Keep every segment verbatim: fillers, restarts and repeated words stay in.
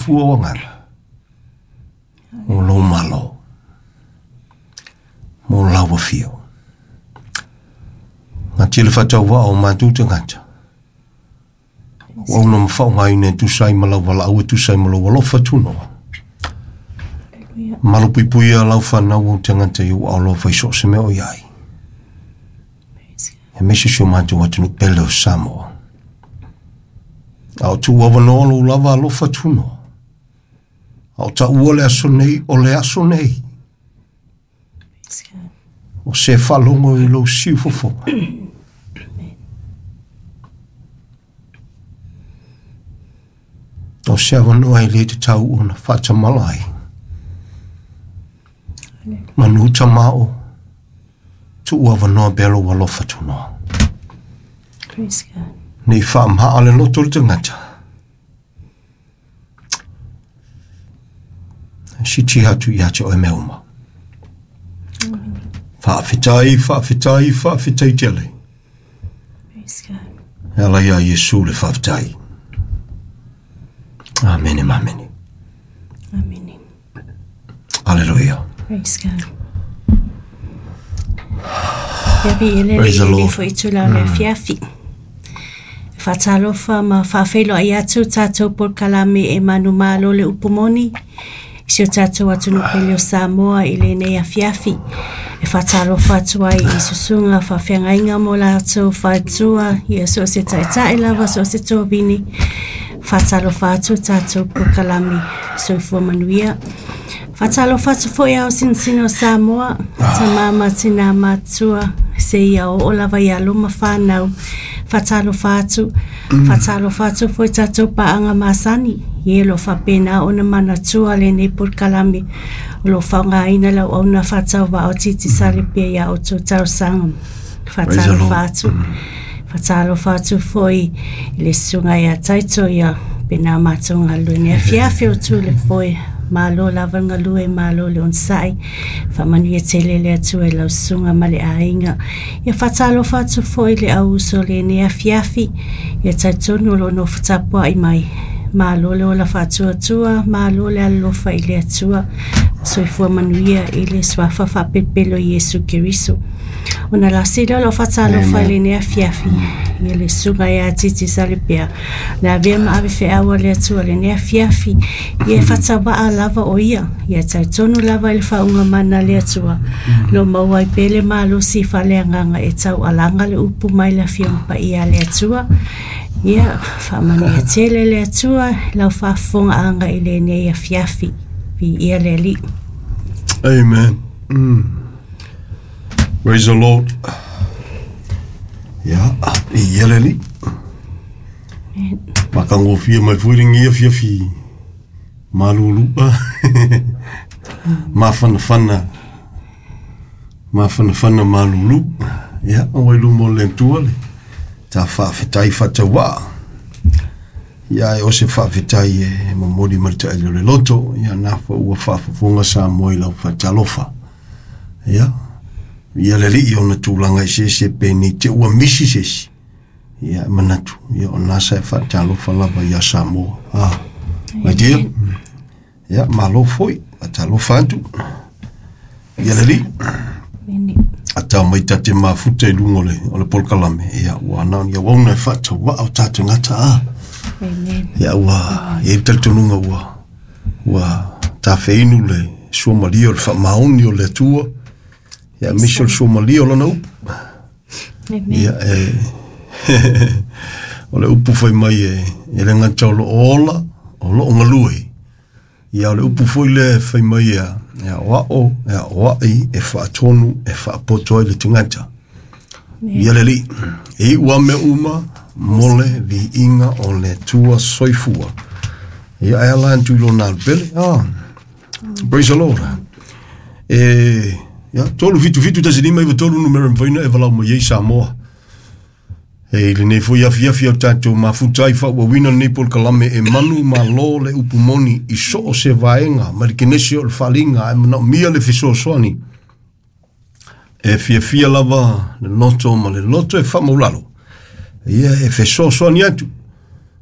Fua o agaga o lou malo mo lau afio. Gatia le faatauvaa o matou tagata ua auna ma faaaogaina e tusa ai ma lau valaau e tusa ai ma lou alofa tunoa. Malupuipuia lau fanau o tagata i ou aalofa i so o se mea o i ai, aemaise si o matou atunuu pele o Samoa. A o tuu avanoa lou lava alofa tunoa, a o taua le aso nei o le aso nei, o se faalogo i lou siufofoga. O se avanoa e le tatau ona faatamala ai. Manu tamao, tuu avanoa pea lou alofa tunoa. Praise God. Nei faamaha le loto o le tagata. Siti atu ia te oe mea uma. Faafetai, faafetai, faafetai tele. Praise God. E ala ia Iesu le faafetai. Amene, amene. Amen. Alleluia. Praise God. Ia vi ele Praise the le Lord. foi itula o le afiafi. Faatalofa ma faafeiloai atu tatou polokalame e manumalo le upu moni i si o tatou atunuu pele o Samoa i lenei afiafi. E faatalofa atu ai i susuga faafeagaiga mo latou faletua, ia so o se taitai lava, so o se tovini. Faatalofa atu tatou polokalame soifua manuia. Faatalofa atu foi ao sinosino o Samoa, tama ma tina matua, seia oo lava ia luma whanau. Faatalofa atu, faatalofa atu foi tatou paaga masani, ia lo faapena ona manatua lenei polokalame o lo faaaogaina lau auna faatauvaa o Digicel pea ia outou talosaga. Faatalofa atu. Faatalofa atu foi i le susuga ia Taito ia pena matou galue nei afiafi o tu le foe. Malo lava le galue, malo le onosai. Faamanuia tele le Atua i lau susuga ma le aiga. Ia faatalofa atu foi le au uso lenei afiafi. Ia talitonu o lo o nofo tapuai mai. Malo le ola faatuatua, malo le alolofa i le Atua. Soifua manuia i le suafa faapelopelo o Iesu Keriso. Ona lasi lea o lau faatalofa i lenei afiafi. Ia le susuga ia Digicel pea. Le avea ma ave feau a le Atua lenei afiafi. Ia e faatauvaa lava o ia. Ia talitonu lava i le faauga mana a le Atua. Lo maua ai pea le malosi faaleagaga e taualaga le upu mai le afioga paia a le Atua. Ia faamanuia tele le Atua lau faafofogaaga i lenei afiafi. Viia le Alii. Amen. Mm. Praise the Lord. Ia, viia le Alii. Matagofie mai foi lenei afiafi malulua. Mafanafana. Mafanafana malulu. Ia, ua i luma o le Atua le ta faafetai faatauvaa. Ia e o se faafetai e momoli ma le taele o le loto. Ia na fa ua faafofoga Samoa i lau faatalofa. Ia, ia le Alii ona tulaga eseese penei te ua misi se isi. Ia e manatu, ia o nasa e faatalofa lava ia Samoa. Ah, my dear. Ia, malo foi, faatalofa atu. Ia le Alii. Amen. A tau mai tate mafuta i luga o le, o le polokalame. Ia, ua na o ni auauna e faatauvaa o tatou gata a. Amen. Ia ua, e i talitonuga ua, ua tafeinu le suamalia o le faamaoni o le Atua. Ia aemaise o le suamalia o lona upu. Amen. Ia e, o le upu fai mai e, e le gata o loo ola, o loo galue. Ia o le upu foi lea e fai mai ia, e aoao, e aoai, e faatonu, e faapoto ai le tagata. Ia le Alii, e iu lava mea uma mo le viiga o le Atua soifua. Ia e ala atu i lona alupele. Ah, praise the Lord. E, ia, tolu fitu fitu tasi lima iwa tolu numera e mafai ona e valaau mai ai Samoa. E i lenei foi afiafi o tatou mafuta ai faauauina lenei polokalame e manu malo le upu moni i so o se vaega ma le kenese o le faaliga ae manaomia le fesoasoani. E fiafia lava le loto ma le loto e faamaulalo. Ia e fesoasoani atu.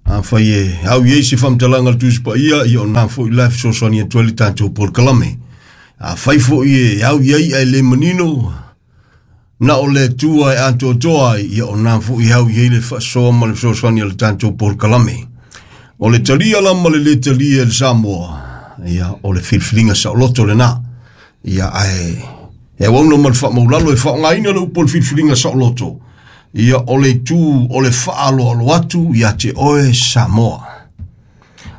Afai e au i ai se faamatalaga le Tusi Paia, ia o na fo'i la e fesoasoani atu ai le tatou polokalame. Afai fo'i e au i ai ae le manino, na o le Atua e atoatoa ai, ia o na fo'i au i ai le faasoa ma le fesoasoani a le tatou polokalame. O le talia la ma le lē talia e le Samoa, ia o le filifiliga saoloto lenā. Ia ae e auauna ma le faamaulalo e faaaogaina le upu o le filifiliga saoloto. Ia o le itu o le faaloalo atu ia te oe Samoa.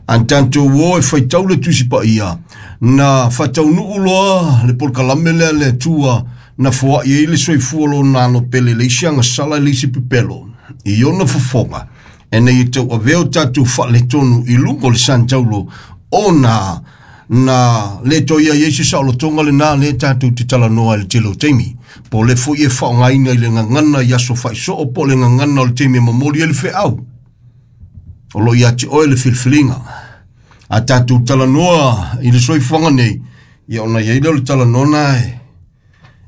An tatou o e faitau le Tusi Paia, na faataunuu loa le polokalame lea le Atua na foai ai le soifua lona alo pele le isi agasala i le isi pepelo i ona fofoga, ina ia tauavea o tatou faaletonu i luga o le sanitaulo ona na le toe i ai se saolotoga lenā lea tatou te talanoa i le tele o taimi. Po o le fo'i e faaaogaina i le gagana i aso faisoo po o le gagana o le taimi e momoli ai le feau. O lo o ia te oe le filifiliga. A tatou talanoa i le soifuaga nei, ia ona i ai lea o le talanoa e,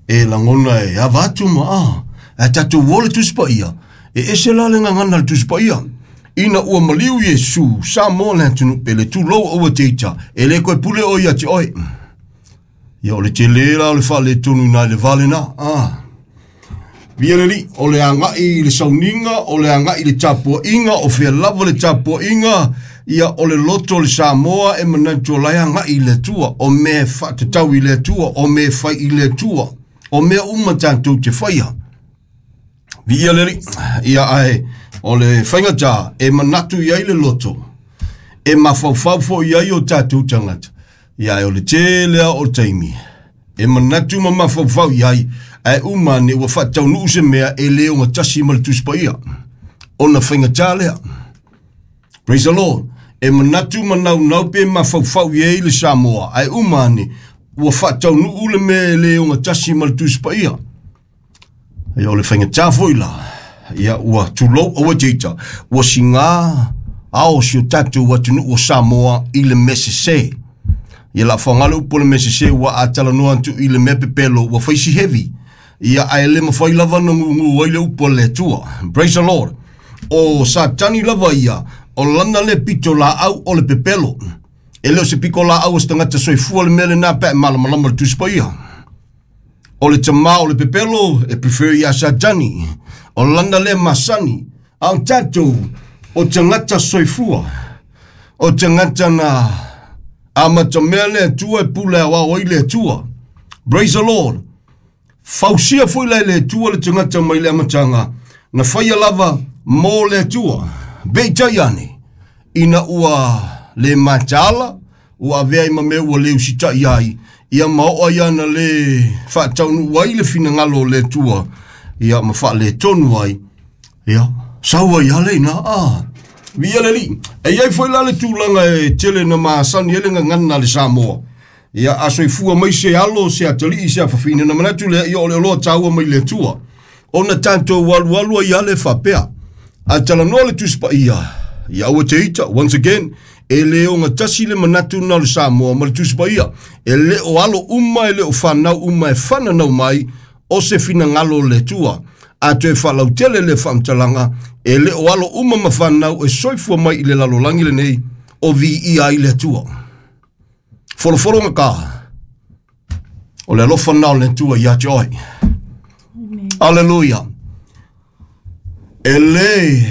e lagona e ava atu ma a. Ae tatou o le Tusi Paia, e ese la le gagana le Tusi Paia. Ina ua maliu Iesu, Samoa le atunuu pele, tulou aua te ita, e le koe pule o ia te oe. Ia o le tele la o le faaletonu i nai le va lenā. Ah. Via le Alii, o le agai i le sauniga, o le agai i le tapuaiga, o fea lava le tapuaiga, ia o le loto o le Samoa e manatu o la e agai i le Atua, o mea e faatatau i le Atua, o mea e fai i le Atua, o mea uma tatou te faia. Via le Alii, ia ae o le faigata e manatu i ai le loto, e mafaufau foi i ai o tatou tagata. Ia ae o le tele o le taimi e manatu ma mafaufau i ai, ae uma ane ua faataunuu se mea e le ogatasi ma le Tusi Paia. Ona faigata lea. Praise the Lord. E manatu ma naunau pe mafaufau i ai le Samoa, ae uma ane ua faataunuu le mea e le ogatasi ma le Tusi Paia. Ia o le faigata foi la, ia ua tulou aua te ita, ua sigā ao si o tatou atunuu o Samoa i le mea sesē. Ia la faaaoga le upu o le mea sesē ua a talanoa atu i le mea pepelo ua fai si heavy. Ia ae le mafai lava ona gugu ai le upu a le Atua. Praise the Lord. O Satani lava ia, o lana le pito laau o le pepelo. E le o se piko laau o se tagata soifua le mea lenā pe a e malamalama le Tusi Paia. O le tamā o le pepelo e prefer ia Satani. O lana le masani. A o tatou, o tagata soifua. O tagata na amatamea le Atua e pule aoao ai le Atua. Praise the Lord. Fausia foi la e le Atua le tagata mai le amataga, na faia lava mo le Atua. Peitai ane, ina ua le mataala, ua avea ai ma mea ua le usitai ai, ia ma oo ai ana le faataunuu ai le finagalo o le Atua, ia ma faaletonu ai, ia sau ai lava leina. Ah. Via le Alii. E i ai foi la le tulaga e tele na masani ai le gagana a le Samoa. Ia a soifua mai se alo, se atalii, se afafine, na manatu lea, ia o le oloa taua mai le Atua. Ona tatou alualu ai lava le faapea. A talanoa le Tusi Paia, ia aua te ita, once again, e le ogatasi le manatu na o le Samoa ma le Tusi Paia. E le o alo uma, e le o fanau uma e fananau mai, o se finagalo o le Atua. A toe faalautele le faamatalaga, e le o alo uma ma fanau e soifua mai i le lalolagi lenei, o viia ai le Atua. Folofologa ka, o le alofa na o le Atua ia te oe. Aleluia. E le,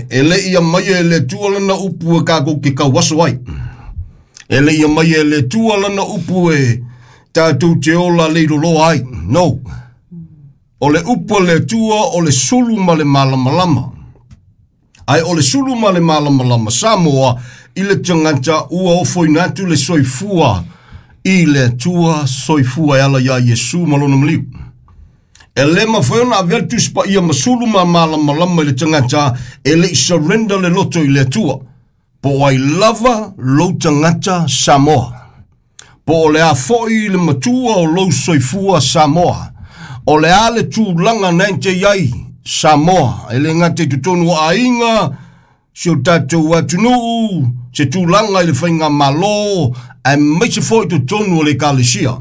e le ia mai e le Atua lana upu e kākou ke kauaso ai. E le ia mai e le Atua lana upu e tatou te ola leiloloa ai. No. O le upu a le Atua o le sulu ma le malamalama. Ae o le sulu ma le malamalama Samoa i le tagata ua ofoina atu le soifua i le Atua soifua e ala iā Iesu ma lona maliu. E le mafai ona avea le Tusi Paia ma sulu ma malamalama i le tagata e le i surrender le loto i le Atua. Po o ai lava lou tagata Samoa. Po o le a foi le matua o lou soifua Samoa. O le a le tulaga na e te i ai Samoa. E le gata i totonu o aiga, si o tatou atunuu, se tulaga i le faigamalo, aemaise foi i totonu o le ekalesia.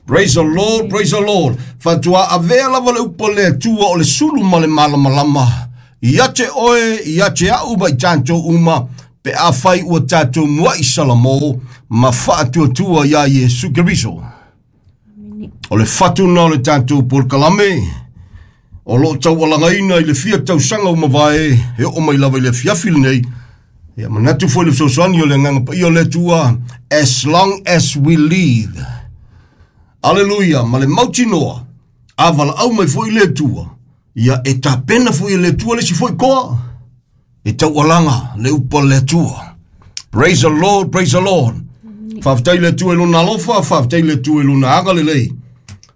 Praise the Lord, praise the Lord. Faatoa avea lava le upu a le Atua o le sulu ma le malamalama. Ia te oe, ia te au mai tātou uma, pe a whai ua tātou mua i Salamo, ma whaatuatua ia Iesu Keriso. O le whatuna o le tātou polokalame, o loo tau alangaina i le fia tausanga o mavae, he o mai lava i le fiafi lenei, ia manatu foi le fesoasoani o le agaga paia o le Atua, as long as we live. Aleluia, ma le mautinoa, a valaau mai foi le Atua, ia e tapena foi e le Atua le si foi koa, e taualaga le upu a le Atua. Praise the Lord, praise the Lord. Faafetai le Atua i lona alofa, faafetai le Atua i lona agalelei.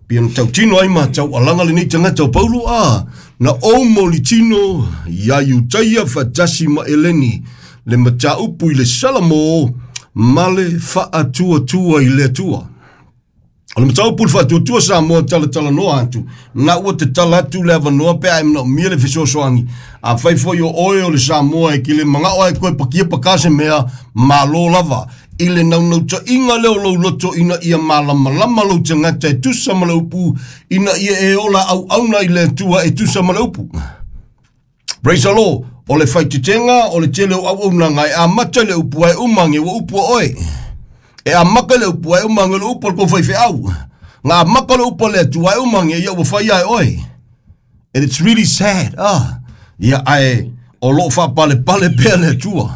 Pia na tautino ai ma taualaga lenei tagata o Paulo a, na ou molitino ia Iutaia faatasi ma Eleni, le mataupu i le Salamo ma le faatuatua i le Atua. O le mataupu le faatuatua Samoa talatalanoa atu, na ua te tala atu le avanoa pe a e manaomia le fesoasoani. A fai foi o oe o le Samoa e kile mangao ai koe pakia paka se mea, malo lava. I le naunautaiga lea o lou loto ina ia malamalama lou tagata e tusa ma le upu, ina ia e ola auauna i le Atua e tusa ma le upu. Praise the Lord. O le faitetenga, o le tele o auaunaga e amata i le upu ae uma ge ua upu a oe. E amaka le upu ae uma ge le upu o le kou faifeau. Nga amaka le upu a le Atua ae uma ge ia ua fai ae oe. And it's really sad. Ah, ia ae o loo faapalepale pea le Atua.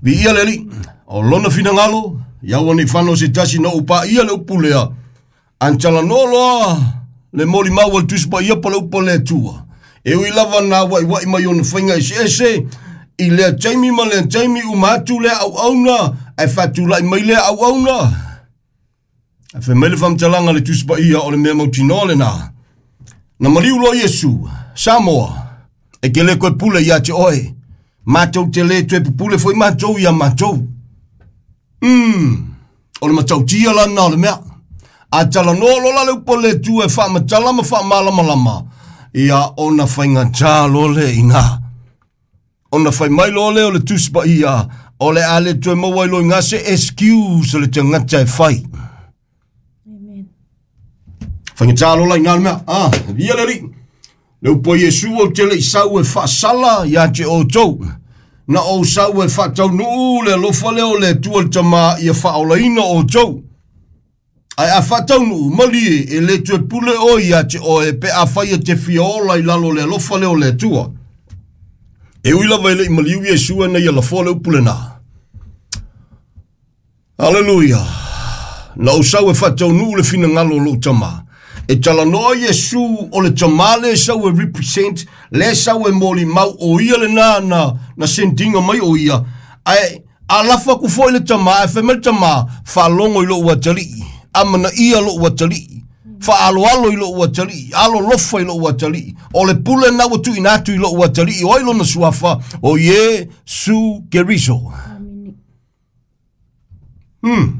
Viia le Alii. O lona finagalo, ia ua nei whano se tasi na upa ia le upu lea. Antalanoa loa le molimau o le Tusi Paia pa le upu a le Atua. E ui lava na wai wai mai ona whainga ese ese, i lea taimi ma lea taimi uma atu lea auauna, ae faatulai mai lea auauna. Ae fai mai le faamatalaga le Tusi Paia o le mea mautinoa lenā. Na maliu loa Iesu, Samoa, e ke le koe pule ia te oe. Mātou te le toe pupule foi mātou ia mātou. Mm, o le matautia la na o le mea. A talanoa lola le upu a le Atua e faamatala ma faamalamalama. Ia ona faigata loa le ina. Ona fai mai loa lea o le Tusi Paia, o le a le toe maua ai loa i ngā se excuse o le tagata e fai. Amen. Faigata loa la ina le mea. Ah, via le Alii. Le upu a Iesu ou te le i sau e faasala ia te outou. Na ou sau e faataunuu le alofa lea o le Atua le Tamā ia faaolaina outou. Ae a faataunuu malie e le toe pule oe ia te oe pe a fai e te fia ola i lalo le alofa lea o le Atua. E ui lava e le i maliu Iesu e nei lafoa le upu lenā. Aleluia. Na ou sau e faataunuu le finagalo o lou Tamā. E talanoa Iesu o le Tamā le sau e represent, le sau e molimau o ia lenā na, na sendinga mai o ia. Ae a lafa aku foi le Tamā, e fai mai le Tamā, faalogo i lou atalii, amanaia lou atalii, faaloalo i lou atalii, alolofa i lou atalii. O le pule na ua tuuina atu i lou atalii, o ai lona suafa, o Iesu Keriso. Amene. Hmm.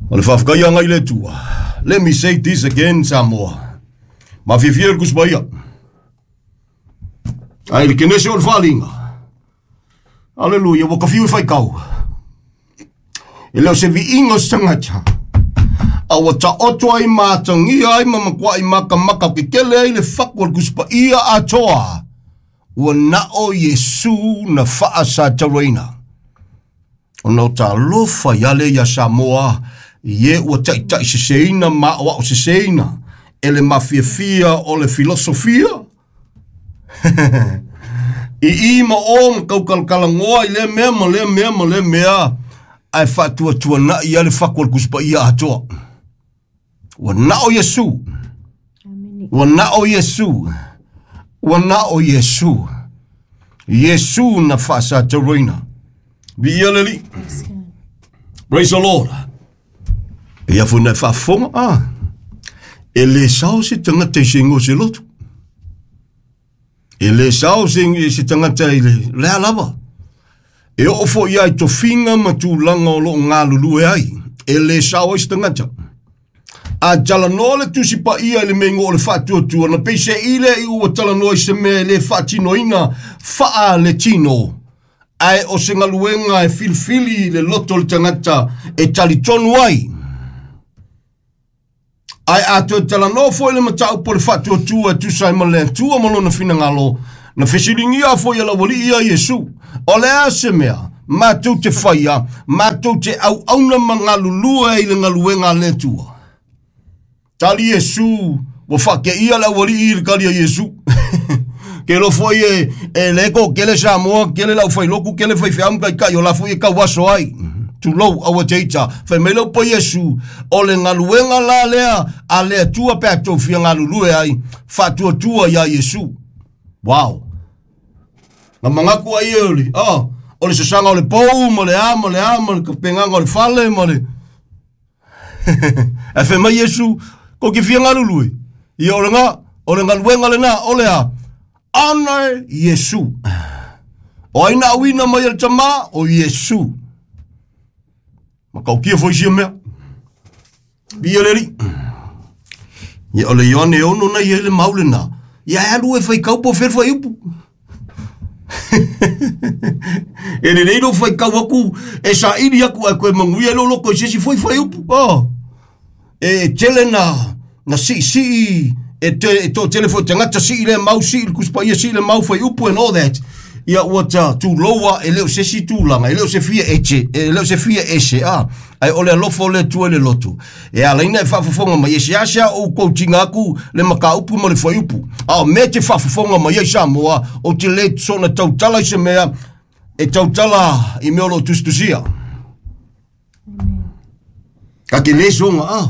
O le faafetaiga i le Atua. Let me say this again, Samoa. Ma fiafia le Tusi Paia. Ai le kenese o le faaliga. Aleluia, ua kafiu e faikau. E leo se viiga o se tagata. A ua taoto ai ma atagia ai ma matuai makamaka kekele ai le faku o le Tusi Paia atoa. Ua nao Iesu na faasatauaina. Ona o talofa ia le ia Samoa, ie ua taitai seseina ma o ao seseina. E le mafiafia o le filosofia. I i ma o ma kaukalakalagoa i lea mea ma lea mea ma lea mea. Ae faatuatuana'i ia le faku o le Tusi Paia atoa. Ua nao Iesu. Amene. Ua nao Iesu. Ua nao Iesu. Iesu na faasatauaina. Viia le Alii. Praise God. Praise the Lord. Ia foi na faafofoga ah. E le sao se tagata i se igoa o se lotu. E le sao se, se tagata i le lea lava. E oo foi ia i tofiga ma tulaga o loo galulue ai. E le sao ai se tagata. A talanoa le Tusi Paia i le mea igoa o le faatuatua, na peiseai lea i ua talanoa i se mea e le faatinoina faa le tino. Ae o se galuega e filifili le loto o le tagata e talitonu ai. Ae a toe talanoa foi le mataupu o le faatuatua e tusa ai ma le Atua ma lona finagalo, Na fesilingia foi ala wali ia Iesu. O le a se mea, mātou te whaia, mātou te au auna mangalulua i le ngaluenga le tua. Tali Iesu, wa whake ia la wali i le kali a Iesu. Ke lo foi e, e leko, kele Samoa, kele lau whailoku, kele whaiwheamu kai kai, o la foi e kauaso ai. Tulou aua teita, whai mai lau pa Iesu, o le ngaluenga la lea, a le tua pe a tau fia ngalulue ai, whaatua tua ia Iesu. Wow. Nga mangaku ai e oli, ah, o le sasanga o le pou, ma le a, ma le a, ma le kapenganga o le fale, ma le... E whai mai Iesu, ko ki fia ngalulue. Ia o le ngā, o le ngaluenga le nā, o le a, honor Iesu. O aina awina mai el tama, o Iesu. Ma kaukia foi sia mea. Bia leri. Ia o le Ioane ono na ia le maule nā. Ia e alu e whai kaupo whir whai upu. E le leiro whai kau aku, e sa iri aku e koe manguia lo loko i sesi whai whai upu. Oh. E tele na, na si si, e te, e tō tele fo te ngata si le mau si, kuspa ia si le mau whai upu and all that. Ia ua ta tūloa e leo se si tūlanga, e leo se fia eche, e leo se fia ese, ah. Ai ole alofo le tua le lotu. E ala ina e whaafafonga mai, e se asia o koutinga aku le maka upu ma le whai upu. A me te whaafafonga mai e Samoa, o te le sona tautala i se mea, e tautala i mea o lo tustusia. Ka ke le songa, ah.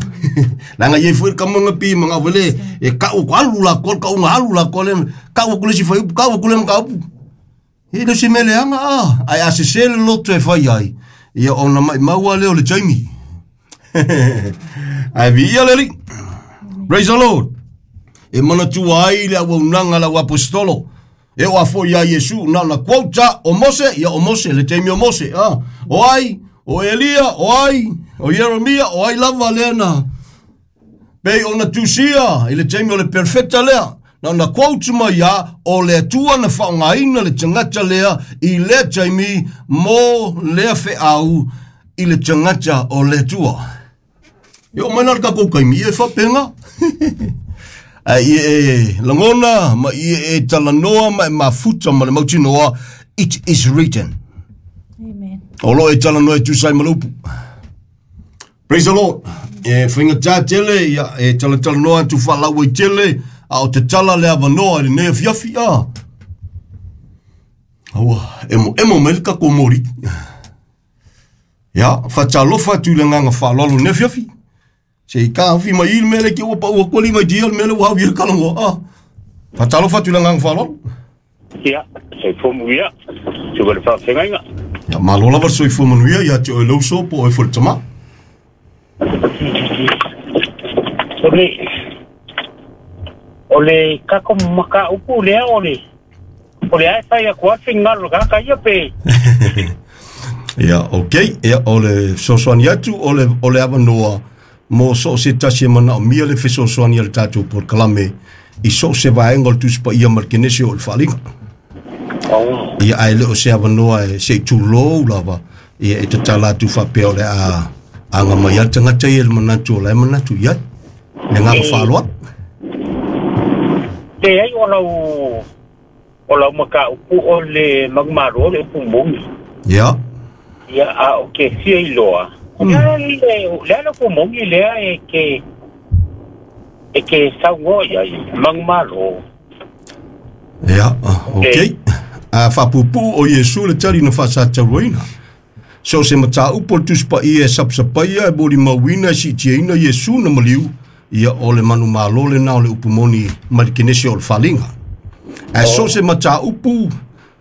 Langa ye fue ka monga pi manga wele, e ka u alu la kol, ka unga alu la kol, ka u kule si whai upu, ka u kule maka upu. E le se mele anga, ah, ai a se sele loto e whai ai. Ia ona mai maua leo le Jamie. Ai vi ia leli. Praise the Lord. E mana tua ai le awa unanga la apostolo. E o afo ia Iesu, na na quota o Mose, ia o Mose, le Jamie o Mose. Ah, o ai, o Elia, o ai, o Jeremia, o ai lava lea na. Pei ona tusia, i le Jamie o le perfecta lea. Na na quote mai ia, o le atua na whaongaina le tangata lea i le taimi mo lea wheau i le tangata o le atua. Ia o mai nā kako kaimi e whapenga. Ai e e langona, ma i e talanoa, ma e mafuta, ma le mautinoa, it is written. Amen. O lo e talanoa e tusai malupu. Praise the Lord. E whainga tā tele, ia e talatalanoa atu whalau e tele, a o te tala le avanoa i le nea fiafi, a. Aua, emo, emo mai le kako mori. Ia, whatalofa atu le nganga whalalo nea fiafi. Se i ka awhi mai il mele ki ua pa ua koli mai di il mele ua hau i le kalangoa, a. Whatalofa atu le nganga whalalo. Ia, soifua manuia, tuka le whaafengainga. Ia, malo lava soifua manuia, ia te oe lauso po oe fo le tama. O le... O le kako maka upu lea o le o le ai whai aku atu ngalo kaka ia pe. Ia, ok. Ia, o le sosoani atu, o le, o le avanoa mo so se tasi e mana o mia le fesoasoani a le tātou polokalame i so se vaenga o le tusipa ia ma le kenese o le whaalinga. Oh. Ia, ai le o se avanoa e se i tūlou lava, ia e tatala atu whapea o le a anga mai al tangata ia le manatu o le manatu ia. Le ngā whaaloa. Te ai o lau o lau maka upu o le magmaro le upu mongi. Ia. Ia a o ke fia i loa. Mm. Lea le lea le upu mongi lea e ke e ke saungo ia i magmaro. Ia, ok. A whapupu o Iesu le tali na whasatauina. So se mata upo le tuspa ia e sapsapaia e bori mauina e sitiaina Iesu na maliu. Ia o le manu malo le nā o le upu moni mai le kenese o le whalinga. A so se mata upu,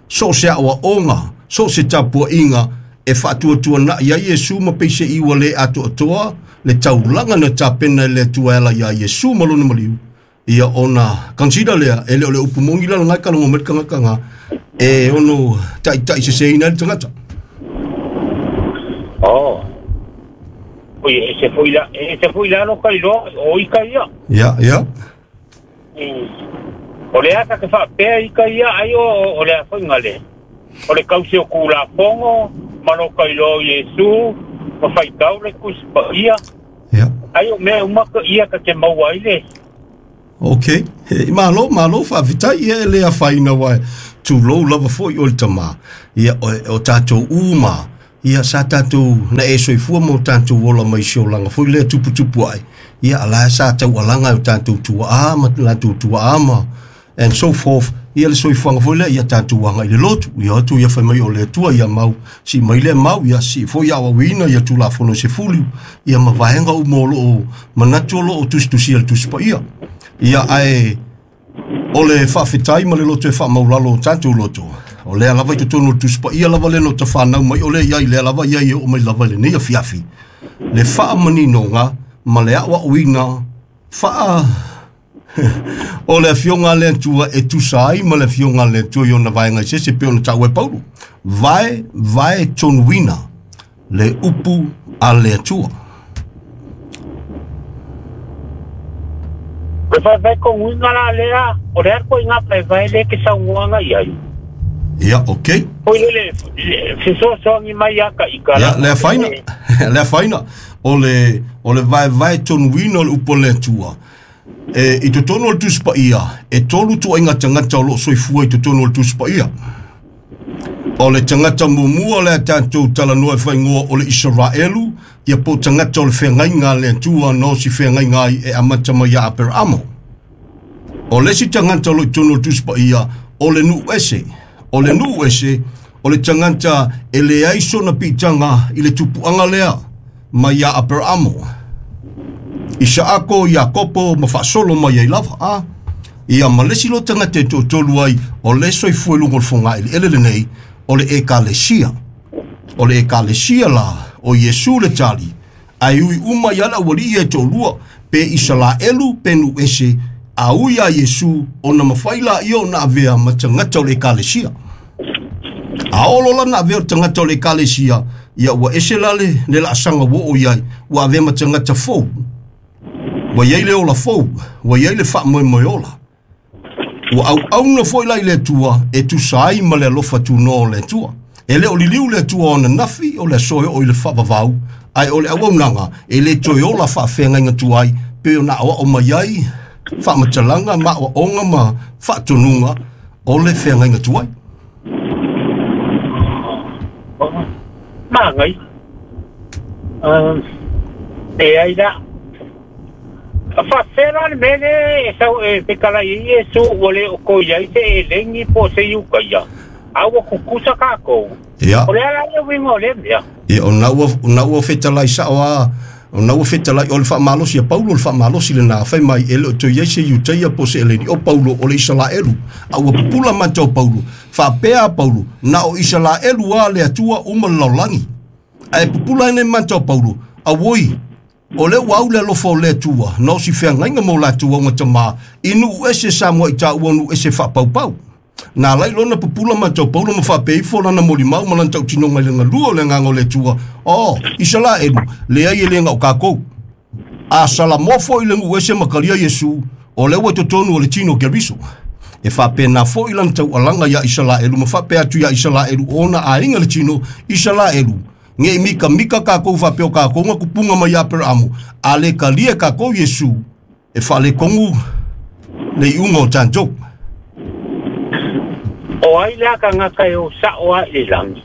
so se awa onga, so se tapua inga, e whaatuatua na ia Iesu ma peise iwa le atoa toa, le taulanga na tapena le tuela ia Iesu ma lona maliu. Ia ona consider lea, e le o le upu mongi la ngai kalongo mai kanga kanga, e ono tai tai se se ina le tangata. Oh. Oi, e se foi la, e se foi la lo kai lo, o i kai ia. Ia, ia. O le aka ke whaapea i kai ia, ai o, o le a whainga le. O le kausi o kula pongo, ma lo kai lo Iesu, ma whaitau le kuspa ia. Ia. Ai o mea umaka ia ka te maua i le. Ok, e, malo, malo faafetai ia e lē afaina uae tulou lava foʻi o le tamā ia o, o tatou uma ia sa tatou na e soifua ma o tatou ola mai si olaga foi lea tuputupu aʻe ia ala sa taualaga e o tatou tuaʻā ma latou tuaʻā ma and so forth ia le soifuaga foi lea ia tatou agaʻi le lotu ia atu ia fai mai o le Atua ia mau sii mai lea mau ia sii foi aʻauauina ia tulafono se fulu ia ma vaega uma o loo manatu o loo tusitusia le Tusi Paia ia ae o le faafetai ma le loto e faamaulalo o tatou loto o lea lava i totonu o le Tusi Paia lava le no tafanau mai o lea iai lea lava iai e oo mai lava i lenei afiafi le faamaninoga ma le aʻoaʻoina faa o le afioga a le Atua e tusa ai ma le afioga a le Atua i ona vaega i sese pe ona taua e Paulo vae vae tonuina le upu a le Atua. Le faefae koguiga la lea o le a koiga faefae le ke saunoaga i ai. Ia, ok. Foi le le fesoasoani mai ia ka ika ia le afaina le afaina o le o le vaevae tonuina o le upu a le Atua e i totonu o le Tusi Paia e tolu tuaiga tagata o loo soifua i totonu o le Tusi Paia. O le tagata muamua o le a tatou talanoa e faaigoa o le Isaraelu ia po o tagata o le feagaiga a le Atua na osi feagaiga ai e amata mai ia Aperaamo. O le isi tagata o loo i totonu o le Tusi Paia o le nuu ese. O le nuu ese o le tagata e leai sona piitaga i le tupuaga lea mai ia Aperaamo. Isaako, Iakopo ma faasolo mai ai lava a. Ia ma le isi lo tagata e toatolu ai o le soifua i luga o le fogaʻiliʻele lenei o le Ekalesia. O le Ekalesia la o Iesu le tali ae ui uma ia le aualii e toalua pe Isalaelu pe nuu ese a ui a Iesu ona mafai laia ona avea ma tagata o le Ekalesia. A oo loa lana avea o le tagata o le Ekalesia ia ua ese la le, le laasaga ua oo i ai ua avea ma tagata fou. Ua iai le ola fou, ua iai le faamoemoe ola. Ua auauna foi la i le Atua e tusa ai ma le alofa tunoa o le Atua. E le o liliu le Atua ona nafi o le aso e oo i le faavavau, ae o le auaunaga e le toe ola faafeagaiga tuai pe ona aoao mai ai faamatalaga ma aoaoga ma faatonuga o le feagaiga tuai. Magai. E ai la. Faafela le mea lea e sau e fetalai ai Iesu ua le o koi ai se elegi po o se iukaia, a ua kukusa kākou. Ia. O le a la le uiga o lea mea? Ia, o na ua, o na ua fetalai sao a, o na ua fetalai, o le faamalosi a Paulo, o le faamalosi lenā, fai mai, e le o toe i ai se Iutaia po o se Eleni, o Paulo o le Isalaelu, a ua pupula mata o Paulo, faapea a Paulo, na o Isalaelu a le Atua uma le lalolagi. Ae pupula ai nei mata o Paulo, auoi, o le ua au le alofa o le Atua, na o si feagaiga mo latou augatamā, i nuu ese sa muaʻi taua nuu ese faapaupau. Na alai lona pupula mata o Paulo ma faapea ifo lana molimau ma lana tautinoga i le galua o le agaga o le Atua, o Isalaelu, leai e le gao kākou. A salamoa foi le nuu ese ma kalia Iesu, o le ua i totonu o le tino o Keriso. E faapena foi lana taualaga iā Isalaelu ma faapea atu iā Isalaelu o ona aiga le tino Isalaelu. Ge i mikamika kākou faapea o kākou ga kupuga mai Aperaamo, a le kalia e kākou Iesu, e faalekogu le iuga o tatou. O ai la tagata e o sao a i le lagi.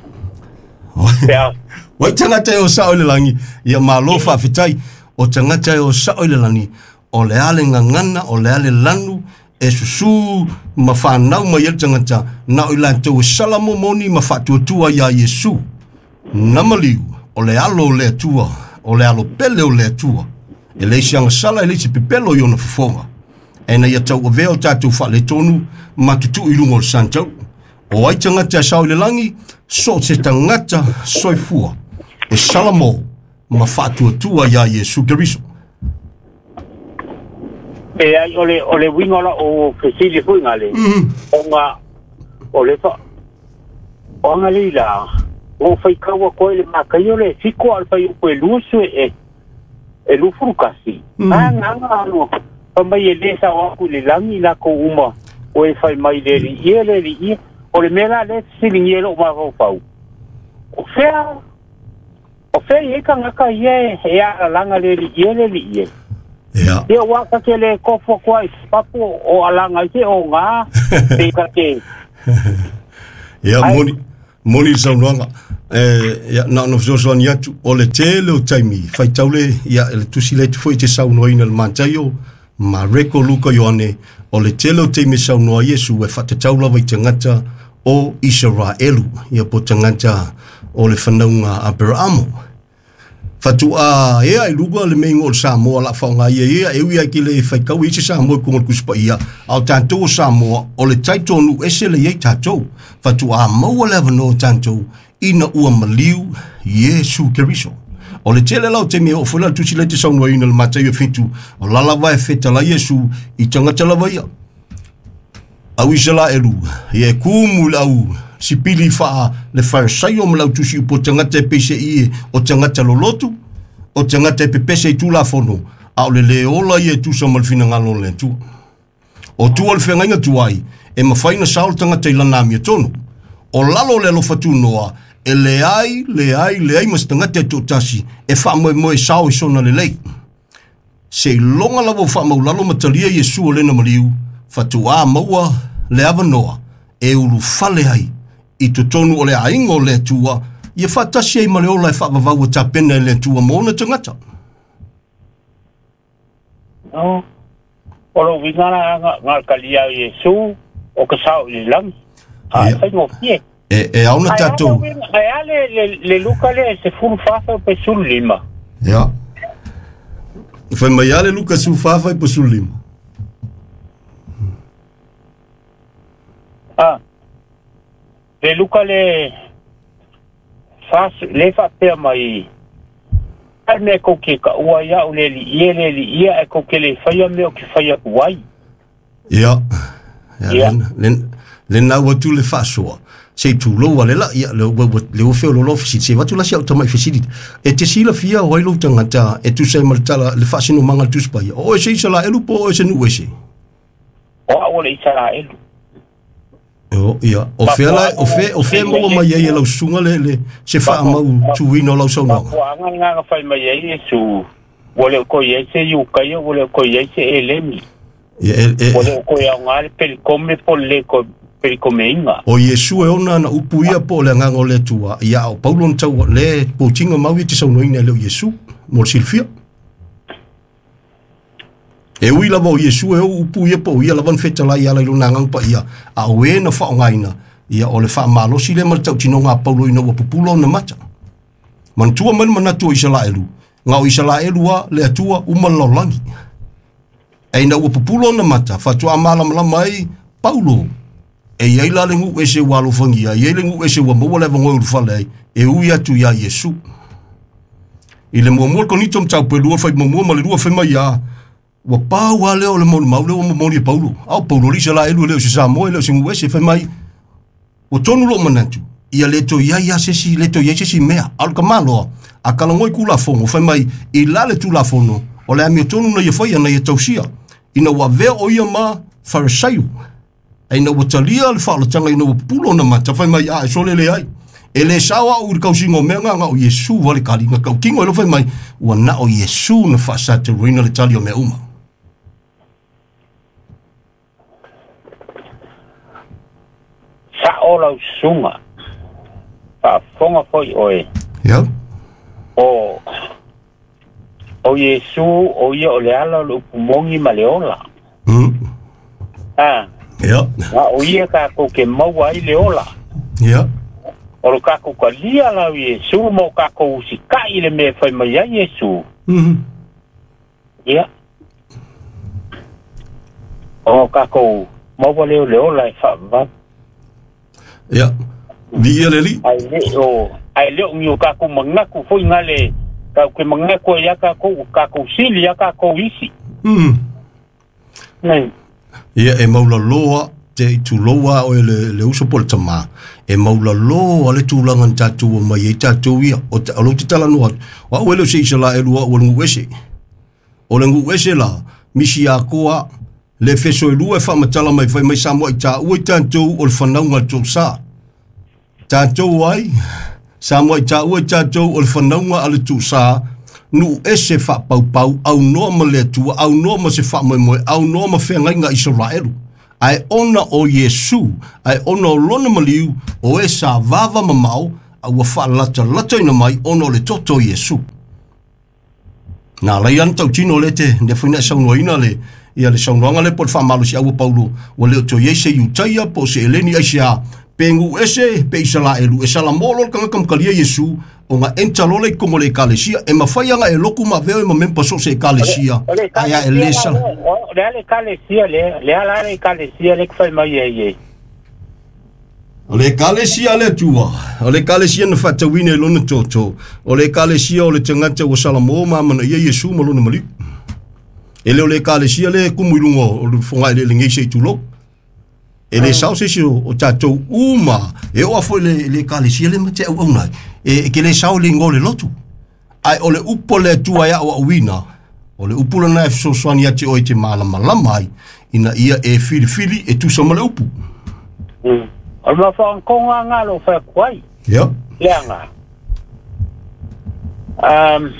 Pe a Wai tagata e o sao i le lagi, ia malo faafetai, o tagata e o sao i le lagi, o le a le gagana, o le a le lanu, e susū ma fanau mai ai le tagata, na o i latou e salamomoni ma faatuatua iā Iesu. Na maliu, o le alo o le Atua, o le alo pele o le Atua, e leai se agasala e leai se pepelo i ona fofoga. E na ia tauavea o tatou faaletonu ma tutuu i luga o le santau. O ai tagata e sao i le lagi, so o se tagata soifua, e salamo ma faatuatua iā Iesu Keriso. E ai o le o le uiga o lau fesili foi gale. Ona o le fa o agalei la o faitau atu ai le makaia o le fitu a o le fuaiupu e luasu e e lufulu kasi. A agaga alo fai mai e lē sao atu i le lagi lakou uma o e fai mai le alii e le alii o le mea la lea fesiligia e lou mafaufau. O fea o fea i ai tagata ia e alalaga le alii e le alii e. Ia. Ia ua ka te le kofo koa i papu o alanga i te o ngā, pe ka te. Ia, moni, moni le saunoaga. E, ia, na ona fesoasoani atu, o le tele o taimi, faitaule, ia, le tusi le atu foi te saunoaina le Mataio, Mareko, Luka, Ioane, o le tele o taimi saunoa Iesu e whaatatau lava i tagata o Israelu, ia po tagata o le whanauga Aperamo. Fatua ea i luga le meingo o le Samoa la whaonga ia ia, e ui ai ki le whaikau i se Samoa i kunga le kusipa ia, au tātou o Samoa, o le taitonu ese le iei tātou. Fatua maua le avanoa tātou, ina ua maliu Iesu Keriso. O le tele lau te mea o fula tusi le te saunoa ina le Mataio fitu, o lalawa e fetala Iesu i tangata lava ia. Au Isalaelu, ia e kumu le au sipili faa le Farisaio ma lau tusi upo tangata e peise i o tangata lolotu, o tangata e pepese i tulafono, a o le le ola ia e tusa ma le finagalo o le Atua. O tua le whengainga tuai, e mawhaina sao le tangata i lana amia tonu. O lalo le alofa tunoa, e le ai, le ai, le ai mas tangata e tōtasi, e wha moe moe sao i sona le lei. Se i longa lava o wha maulalo matalia Iesu o lena maliu, whatua maua le avanoa, e ulu fale ai, i totonu o le ainga o le Atua, ia whatasi ai ma le ola e whaavavau a tapena e le Atua mōna tangata. No, o lo wingana ngā ngā kalia o Iesu, o ka sao i le langi. A, Ia. whai ngō fie. E, e auna Ai tātou. ale ai ale le, le Luka le se fulu fafa o pe sulu lima. Ia. Whai mai ale Luka su whawhai po su lima. Ah. Le Luka le fas le fa pea mai. Ai me ko ke ka ua ia o le li ia le li ia e ko ke le whaia me o ke whaia kuai. Ia. Ia, Ia. len, len, le nau atu le whaasoa. Se i tūlou ale la, ia, le, le, le o feo lolo fisiti. Se watu la si au tamai fisiti. E te sila fia o ailo tangata, e tu se maritala, le whaasino manga le tusipa ia. O e se isa la elu po o e se nu e se. O a o le Israelu. O, ia. O fea la, o fea, o fea maua mai ai e lau sunga le, le, se wha mau tuina o lau saunoaga. Mafuaga le gaga fai mai ai Iesu, ua le o koi ai se iukaia, ua le o koi ai se elemi. Ia, e, e, Ua le o koi aoga le pelikome po le le ko pelikomeiga. O Iesu e ona na upu ia po o le agaga o le Atua, ia o Paulo na tau le potinga mau ia te saunoaina e le o Iesu, mo le silafia. E ui lava o Iesu e o upu ia po o ia lava na fetalai ala i lona agaga paia, a o e na faaaogaina, ia o le faamalosi lea ma le tautinoga a Paulo ina ua pupula ona mata. Manatua mai le manatu o Isalaelu, ga o Isalaelu a le Atua uma le lalolagi. E ina ua pupula ona mata, faatoa malamalama ai Paulo, e iai la le gu'u ese ua alofagia, e iai le gu'u ese ua maua le avanoa e ulufale ai, e ui atu iā Iesu. I le muamua le Konito mataupu e lua fai muamua ma le lua fai mai ia, ua pau a lea o le molimau lea ua momoli e Paulo. A o Paulo le Isalaelu e le o se Samoa e le o se gu'u ese fai mai, ua tonu loo manatu, ia le toe iai a sesi, le toe iai sesi mea. A o le kamaloa, a kalagoi kulafono, fai mai, i la le tulafono, o le amio tonu na ia faia na ia tausia. Ina ua avea o ia ma Farisaio. E ina ua talia le whaolatanga ina ua pupulo na mata, fai mai, a e sole le ai. E le sao au i le kausinga o mea ngā o Iesu wale kali ngā kaukingo e lo fai mai, ua na o Iesu na whaasataruina le tali o mea uma. Sa o lau susuga. Faafofoga foi oe. Ia. O o Iesu o ia o le ala o le upumogi ma le ola. Mm. Ah. Ia. A o ia kākou ke maua ai le ola. Ia. O lo kākou kalia lau Iesu ma o kākou usika'i le mea e fai mai ai Iesu. Mm. Ia. O kākou maua leo le ola e faavavau. Ia. Vi ia le li. Ai le o ai le o ni o kākou mangaku foi ngale kau ke mangaku ia kākou kākou sili ia kākou isi. Mm. Nei. Ia e maula loa te i tuloa o le, le uso po le tamā. E maula loa le tulaga na tatou mai ai tatou ia. O, te, o lou te talanoa atu. O au e le o se Isalaelu au o le gu'u ese. O le gu'u ese la, misi akoa, le feso e lua e whaamatala mai fai mai Samoa i tāua i tātou o le whanauga le tōsā. Tātou ai, Samoa i tāua i tātou o le whanauga a le tūsā, nu ese fa pau pau au noa ma le Atua au noa ma se fa moe moe au noa ma feagaiga Isaraelu ae ona o Iesu ae ona o lona maliu o e sa vava mamao a ua faalatalataina mai ona o le toto o Iesu. Na lai ana tautino le te le foi na saunoaina le ia le saunoaga le po le faamalosi aua Paulo ua le o toe iai se Iutaia po o se Eleni ai se a pe gu ese pe Isalaelu e salamolo le tagata makalia Iesu o nga enta lola i komo le ekalesia e mafai aga e loku ma aveo e ma mempa so se ekalesia O le ae a e lē ekalesia la sala le o le ale ekalesia le le ala ale ekalesia le fai mai ai e. O le ekalesia le Atua o le ekalesia na faatauina i lona toto o le ekalesia o le tagata ua salamo ma amanaia Iesu ma lona maliu e le o le ekalesia le kumu i luga o le fogaeleelegei se i tulou e le sao se isi o o tatou uma e oo afoi le le ekalesia le ma te auauna ai e e ke le sao le igoa o le lotu ae o le upu o le Atua e aʻoaʻoina o le upu lena e fesoasoani ia te oe te malamalama ai ina ia e filifili e tusa ma le upu. Mm. O le mafaankoga aga lo fai atu ai. Ia Leaga. Um,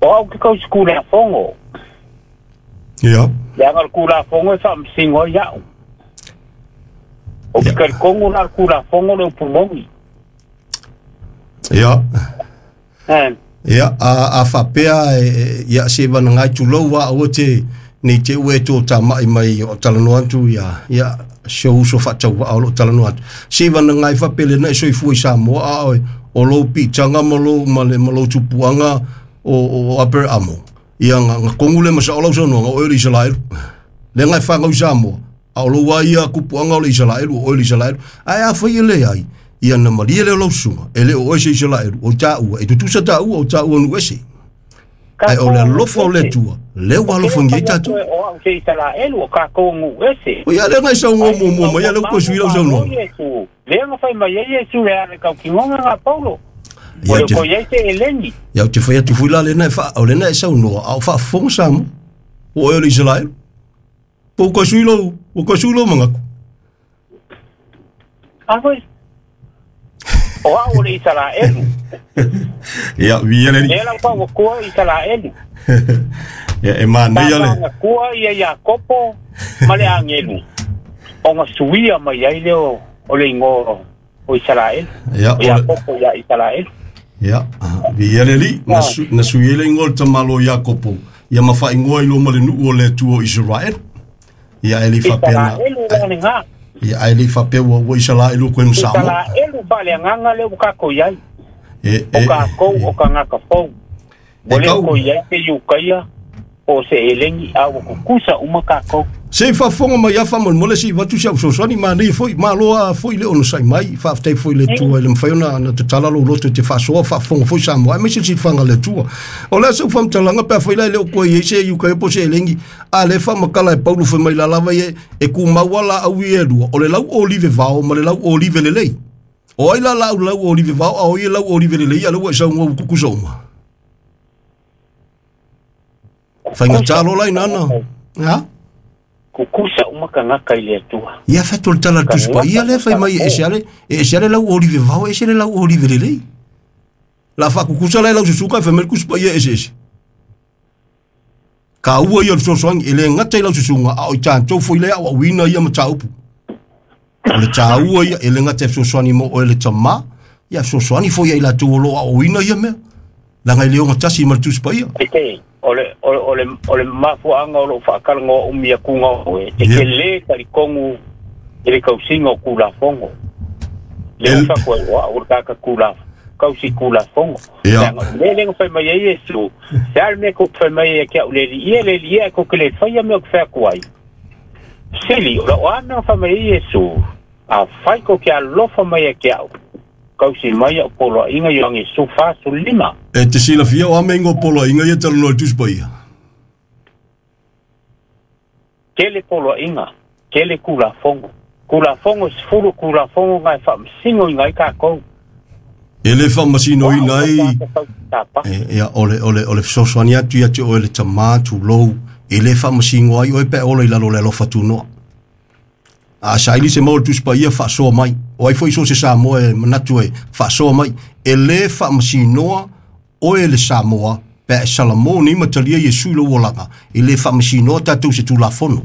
o au ke kau sikula fongo. ia Leaga le kula fongo e faamasingo ai au. O ke ia kalikongo la le kula fongo le upu mogi. ia Eh, ia a a faapea e e- ia se vanagai tulou a aua te nei te ue tō tāma'i mai o talanoa atu ia ia si o uso faatauvaa o loo talanoa atu se vanagai faapele na e soifua i Samoa a oe o lou piitaga ma lou ma le ma lou tupuaga o o Aperamo ia nga nga kogu le ma sao lau saunoaga o oe o le Isalaelu le gai fagau i Samoa a o lou a ia kupuaga o le Isalaelu o oe o le Isalaelu ae afai e leai ia na malie lea o lau susuga e le o oe se Isalaelu o taua e tutusa taua o taua nu ese ai o le kakou alofa o le ese. Atua lea ua O ke le alofagia ai fai atu tatou e o au se Isalaelu o kakou gu ese. o ia lea gai saunoa Ai muamua mau mai ia lea ua toe mau sui lau ma saunoaga Iesu. Le nga fai mai ai Iesu le ale kau kingonga nga Paulo. O ia le te ko iai te eleni. ia te fai atu foi la lena e fa o lena e saunoa a o faafofoga Samoa o oe o le Isalaelu po ua sui lou ua sui lou magaku A foi. O au o le Isalaelu. ia via le Le la pa o kua Isalaelu. ia e Pa manaia le nga kua ia Iakopo ma le angelu. O nga suia mai ai le o o le ingo o Isalaelu. ia O o le Iakopo ia Isalaelu. ia via le li na Ah, su na sui le ingo le tamalo Iakopo ia ma faaigoa i loma le nuu o le Atua o Israel ia e le faapea na Isalaelu la le nga. ia ae le faapea ua ua Isalaelu koe ma Samoa Isalaelu pa le nganga le u kako iai. e O e kakou o kangaka fou. e O le kau ko iai te Iukaia o se elengi a ua kukusa uma kakou. Se faafofoga mai a faamolemole se i vatu si au fesoasoani manaia foi malo a foi le onosai mai faafetai foi le Atua i le mafai ona na tatala lou loto i te faasoa faafofoga foi Samoa aemaise le silafaga le Atua o le a sau faamatalaga pe afai la e le o koe iai se Iukaia po o se elegi a le faamakala e Paulo fai mai lalava ia e kumau a laau ia e lua o le lau olive vao ma le lau olive lelei o ai la laau lau olive vao a o ia lau olive lelei a le ua e saugoa ua kukusa uma Kukusa faigatā lo uma lai nana kangaka. a Kukusa uma kangaka i le Atua. Ia feto le tala le tusi Kangaka paia lea fai mai e ese ale, e ese ale lau olive vao, ese le lau olive lelei. La faakukusa la e lau susuga e fai mai le tusi paia e ese ese. Ka ua ia o le fesoasoani, e le gata i lau susuga, a o i tatou foi lea aʻoaʻoina ia mataupu. O le tāua ia, e le gata e fesoasoani mo oe le tamā, ia fesoasoani foi ia i latou o loo aʻoaʻoina ia mea. Laga e le ogatasi ma le tusi paia. Te te, o le, o le, o le, o le mafuaanga o lou faakalagoa umi akuga o e. Te Ia. ke lē talikongu i le kausiga o kulafogo. Le E, o fakoa o au le kaka kula kausi kulafogo. ia, Leaga o le le fai mai ai Iesu. Se a le mea ko fai mai ai ke au le li ia le li ia ko ke le fai ia mea ko fai aku ai. Sili, o lau ana fai mai ai Iesu. A fai ko ke alofa mai ai ke au. Kausi mai au polo inga ioangi su fa su lima. e te silafia o ame ingo polo inga ia talanoa i le tusi paia. Tele polo inga, tele kulafogo. Kulafogo sefulu kulafogo ngai faamasino i ngai kakou. E le O faamasinoina au o ai, kaka tau tapa. e, ia, o le, o le, o le fesoasoani atu ia te oe le tamā tulou, e le faamasino ai oe pe ola i lalo o le alofa tunoa. A saili se mau o le Tusi Paia faasoa mai. O ai foi so se Samoa e manatu e faasoa mai. E lē faamasinoa oe le Samoa pe a e salamo nei ma talia Iesu i lou olaga. E lē faamasinoa tatou se Tulafono.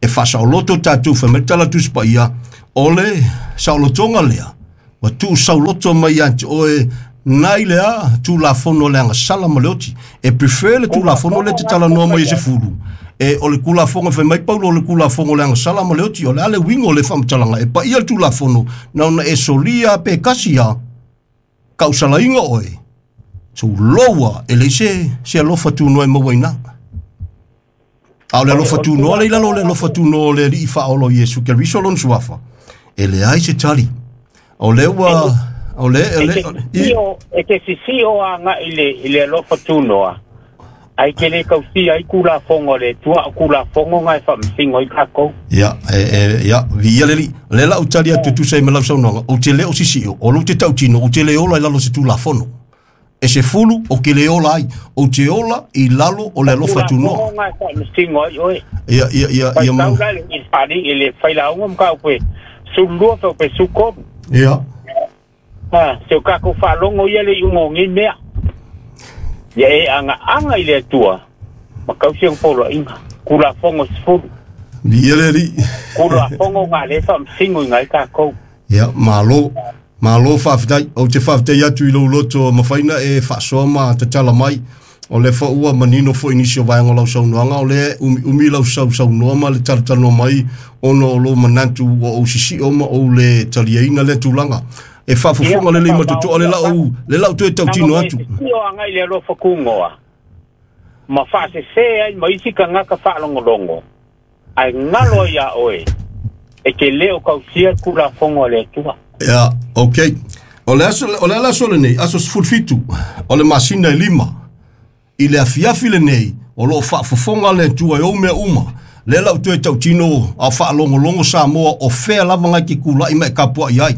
E faasaoloto tatou fai mai le tala Tusi Paia o le saolotoga lea ua tuusauloto mai ia te oe nai le a Tulafono le agasala ma le oti. E prefer le Tulafono le te talanoa mai e se fulu. E o le Tulafono fai mai Paulo o le Tulafono le agasala ma le oti. O le a le uiga o le faamatalaga e paia le Tulafono na ona e solia pe kasi a kausalaina oe. Tuloua e leai se se alofa tunoa e mauaina. A o le alofa tunoa le i lalo o le alofa tunoa o le Alii faaola o Iesu Keriso lona suafa. E leai se tali. O le ua o le E le te sisio, e te sisio agai i le, i le alofa tunoa, ai ke le kausia ai Tulafono a le Atua o Tulafono na e faamasino ai tatou. Ia, e, e, ia, viia le Alii. O lea la ou tali atu e tusa ai ma lau saunoaga, ou te le o sisio, o lou te tautino, ou te le ola i lalo o se Tulafono. E se fulu, ou te le ola ai, ou te ola i lalo o le O alofa Tulafono tunoa. na e faamasino ai oe. Ia, ia, ia, ia, Faitau ma, la le i le faali i le failauga ma mataupu e sululua fau pe sutolu. ia, Ha, se o tatou faalogo ia le iuga o nei mea. Ia e agaaga i le Atua ma tausi ona poloaiga. Tulafono sefulu. viia le Alii. Tulafono na le faamasinoina ai tatou. Ia, malo, malo faafetai. Ou te faafetai atu i lou loto mafaina e faasoa ma tatala mai. O le faua manino foi nisi o vaega o lau saunoaga, o lea umi umi lau sausaunoa ma le talatalanoa mai ona o lou manatu ua ou sisio ma ou le taliaina lea tulaga. E Ia, faafofoga ma lelei ma totoa le faamaonia lau le lau toe tanga tautino mo e atu. sisio agai i le alofa tunoa ma faasesē ai ma isi tagata faalogologo ae galo ai iā oe e te lē o tausia le Tulafono a le Atua. Ia, okay. O le aso o le ala aso lenei, aso sefulu fitu, o le masina e lima. I le afiafi lenei, o loo faafofoga le Atua e ou mea uma. Lea lau toe tautino a faalogologo Samoa o fea lava ngai ke kula'i ma e kapua'i ai.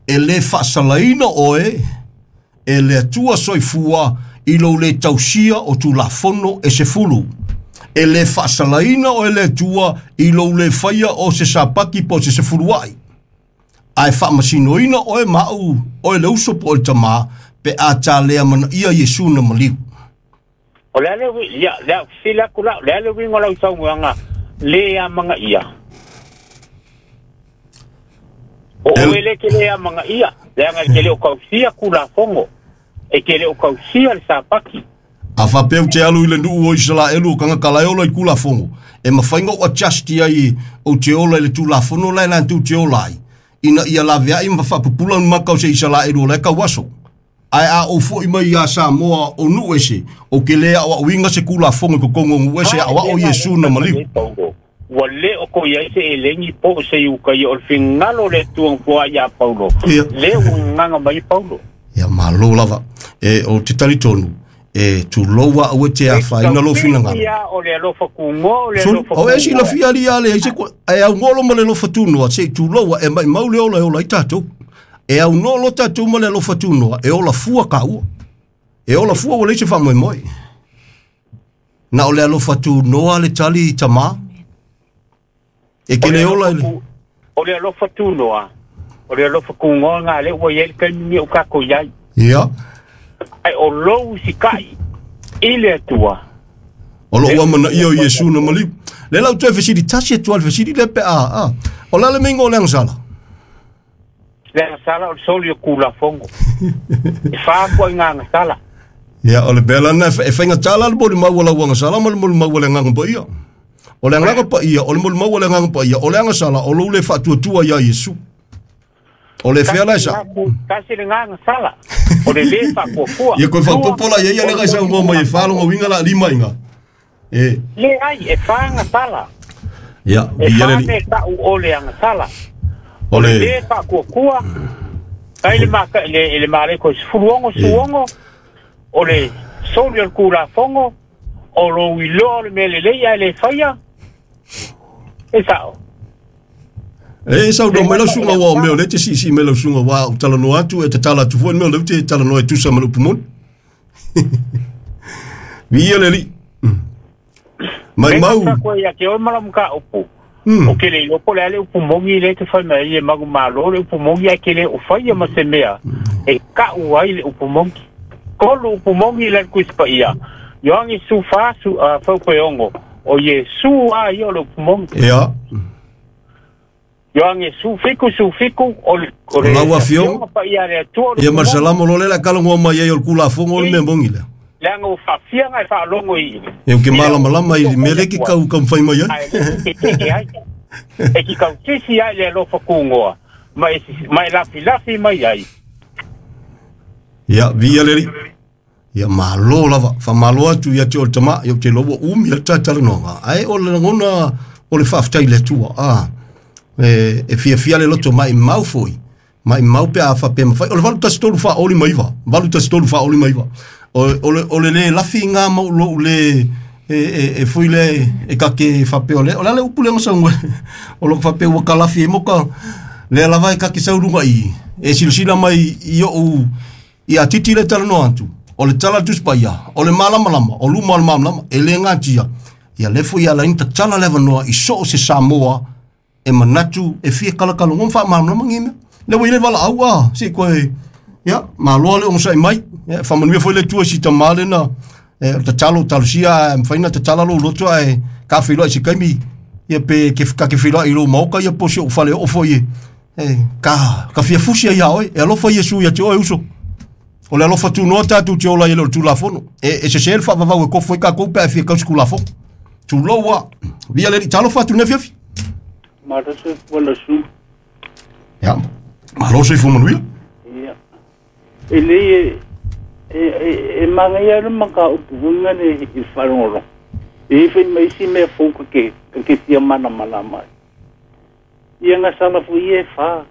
E lē faasalaina oe e le Atua soifua i lou lē tausia o Tulafono e sefulu. E lē faasalaina oe le Atua i lou lē faia o se sapaki po o se sefulua'i. Ae faamasinoina oe ma au oe le uso po o le tamā pe a talea manaia Iesu na maliu. O le a le ui ia le a fesili atu la'u le a le uiga o lau saunoaga lē amagaia. O El, oe lē te lē amagaia leaga e te lē o tausia Tulafono e te lē o tausia le sapaki. A faapea ou te alu i le nuu o Isalaelu o tagata la e ola i Tulafono. E mafai ona ou adjust ai ou te ola i le Tulafono la e latou te ola ai. Ina ia laveai ma faapupula ni maka o se Isalaelu o la e kauaso. Ae a ou fo'i mai iā Samoa o nuu ese, ou ke lē aoaoina se Tulafono i totonu o nuu ese A aoao e lea Iesu e na fai mai maliu. ai Paulo ua lē o ko iai se elegi po o se iukaia o le figalo o le Atua na foai iā Paulo Ia. lē ua gagaga mai Paulo. Ia malo lava. E o te talitonu, e tuloua aua e te E afaina lou tautino finagalo. ia o le alofa kugoa o le Soli, alofa o e kugoa. silafia ali ia le ai se ko- e augolo ma le alofa tunoa, se i tuloua e maimau le ola e ola ai tatou. E aunoa lo tatou ma le alofa tunoa, e ola fua kaua. E ola fua ua leai se faamoemoe. Na o le alofa tunoa le tali tamā. E O ke le le ola alofa i le ku o le alofa tunoa o le alofa kugoa na lea ua iai le taimi nei o tatou iai. Ia, Ae o lou usika'i i le Atua o lou lea ua amanaia o foai Iesu na maliu. Le lau toe fesili tasi atu a le fesili lea pe a, a. O le a le meiga o le agasala? Le agasala o le soli o Tulafono e fā koa i ngā agasala. Ia, o le mea lana e e faigata la le molimau o lau agasala ma le molimau o le Agaga Paia. O le Agaga Paia, o le molimau o le Agaga Paia, o le agasala o lou le faatuatua iā Iesu. O le fea la e Tasi sa. le gā tasi le gā agasala o le lē faafuafua. Ia koe Lua faapopo la ia ia o le le ga saunoa soli mai e Tulafono. faalogo uiga la lima iga. E, Lē ai e fā agasala. ia, E viia le fā Alii. mea ta'u o le agasala. O O le le, lē faakuakua ai le maka le le maleko e sefulu ono e, suogo o le soli o le Tulafono o lou iloa o le mea lelei ae lē faia e sa'o. E saunoa Le mai lau gata o suga le ua o mea o agasala. lea te siisii mai lau suga ua ou talanoa atu e tatala atu foi le mea o lea ou te talanoa e tusa ma le upu moni. Viia le Alii. Le Maimau. gata koe ia te oe ma lau mataupu O ke le iloa po o le a le upu mogi lea e te fai mai ai e manumalo le upu mogi ae ke le o faia ma se mea e ka'u ai le upu mogi. Tolu upu mogi i le Tusi Paia, Ioane sefulufa su faupeogo o Iesu a ia o le upu mogi. Ia. Ioane sefulufitu sefulufitu o le o le Lau afioga. Paia a le Atua o le Ia ma upu le mogi. salamo lo le la kalagoa mai ai o le kulafogo o le mea mogi lea. Leaga ua faafiaga e faalogo i E ke i le malamalama i mea le ki Atua kau kau fai mai ai. ae le tetee ai e ki kautisi ai le alofa kugoa ma e ma e lafilafi mai ai. Ia, via le ri. Ia malo lava, whamalo atu ia te o le tama, ia te loa umi a tatalanoga. Ai o le lagona o le whaaftai le atua. Ah, e, e fia fia le loto mai mau foi. Mai mau pe a whape mawhai. O le valu tasi tolu wha oli maiva. Valu tasi tolu wha oli maiva. O, o, le, o le le lafi ngā mau lo le e, e, e fui le e kake whape o le. O le ale upu le ngasa ngwe. O lo whape ua ka lafi e moka. Le lava e kake saurunga i. E silasila mai i o i a titi le talanoa atu. O le tala tusi paia, o le malamalama, o luma o le malamalama, e le ngatia. Ia le foi ia laina tatala le avanoa i so o se Samoa e manatu e fia kalakala ngom wha malamalama ngi mea. Le ua ile wala au a, si koe, ia, maloa le ongosai mai, ia, whamanuia foi le tua si tamale na, e, o tatalo, talusia, e mwhaina tatala lo loto e, ka whiloa i se kaimi, ia pe, ke, ka ke whiloa i lo maoka, ia po si o whale o foi e, e, ka, ka fia fusia ia oe, e alofa Iesu ia te oe uso. O le alofa tunoa tātou te ola i le o le tulafono. E, e se se le whaavavau e kofo i ka kou pe a fia kausi kulafono. Tuloua. Via le talo fatu ne fiafi. Maraso wala su. Ia. Malo se fumanuia. Ia. E le e e e manga ia le maka upu hunga ne i wharongoro. E ife mai si mea fouka ke ke fia mana mana mai. Ia nga sala fu ie wha.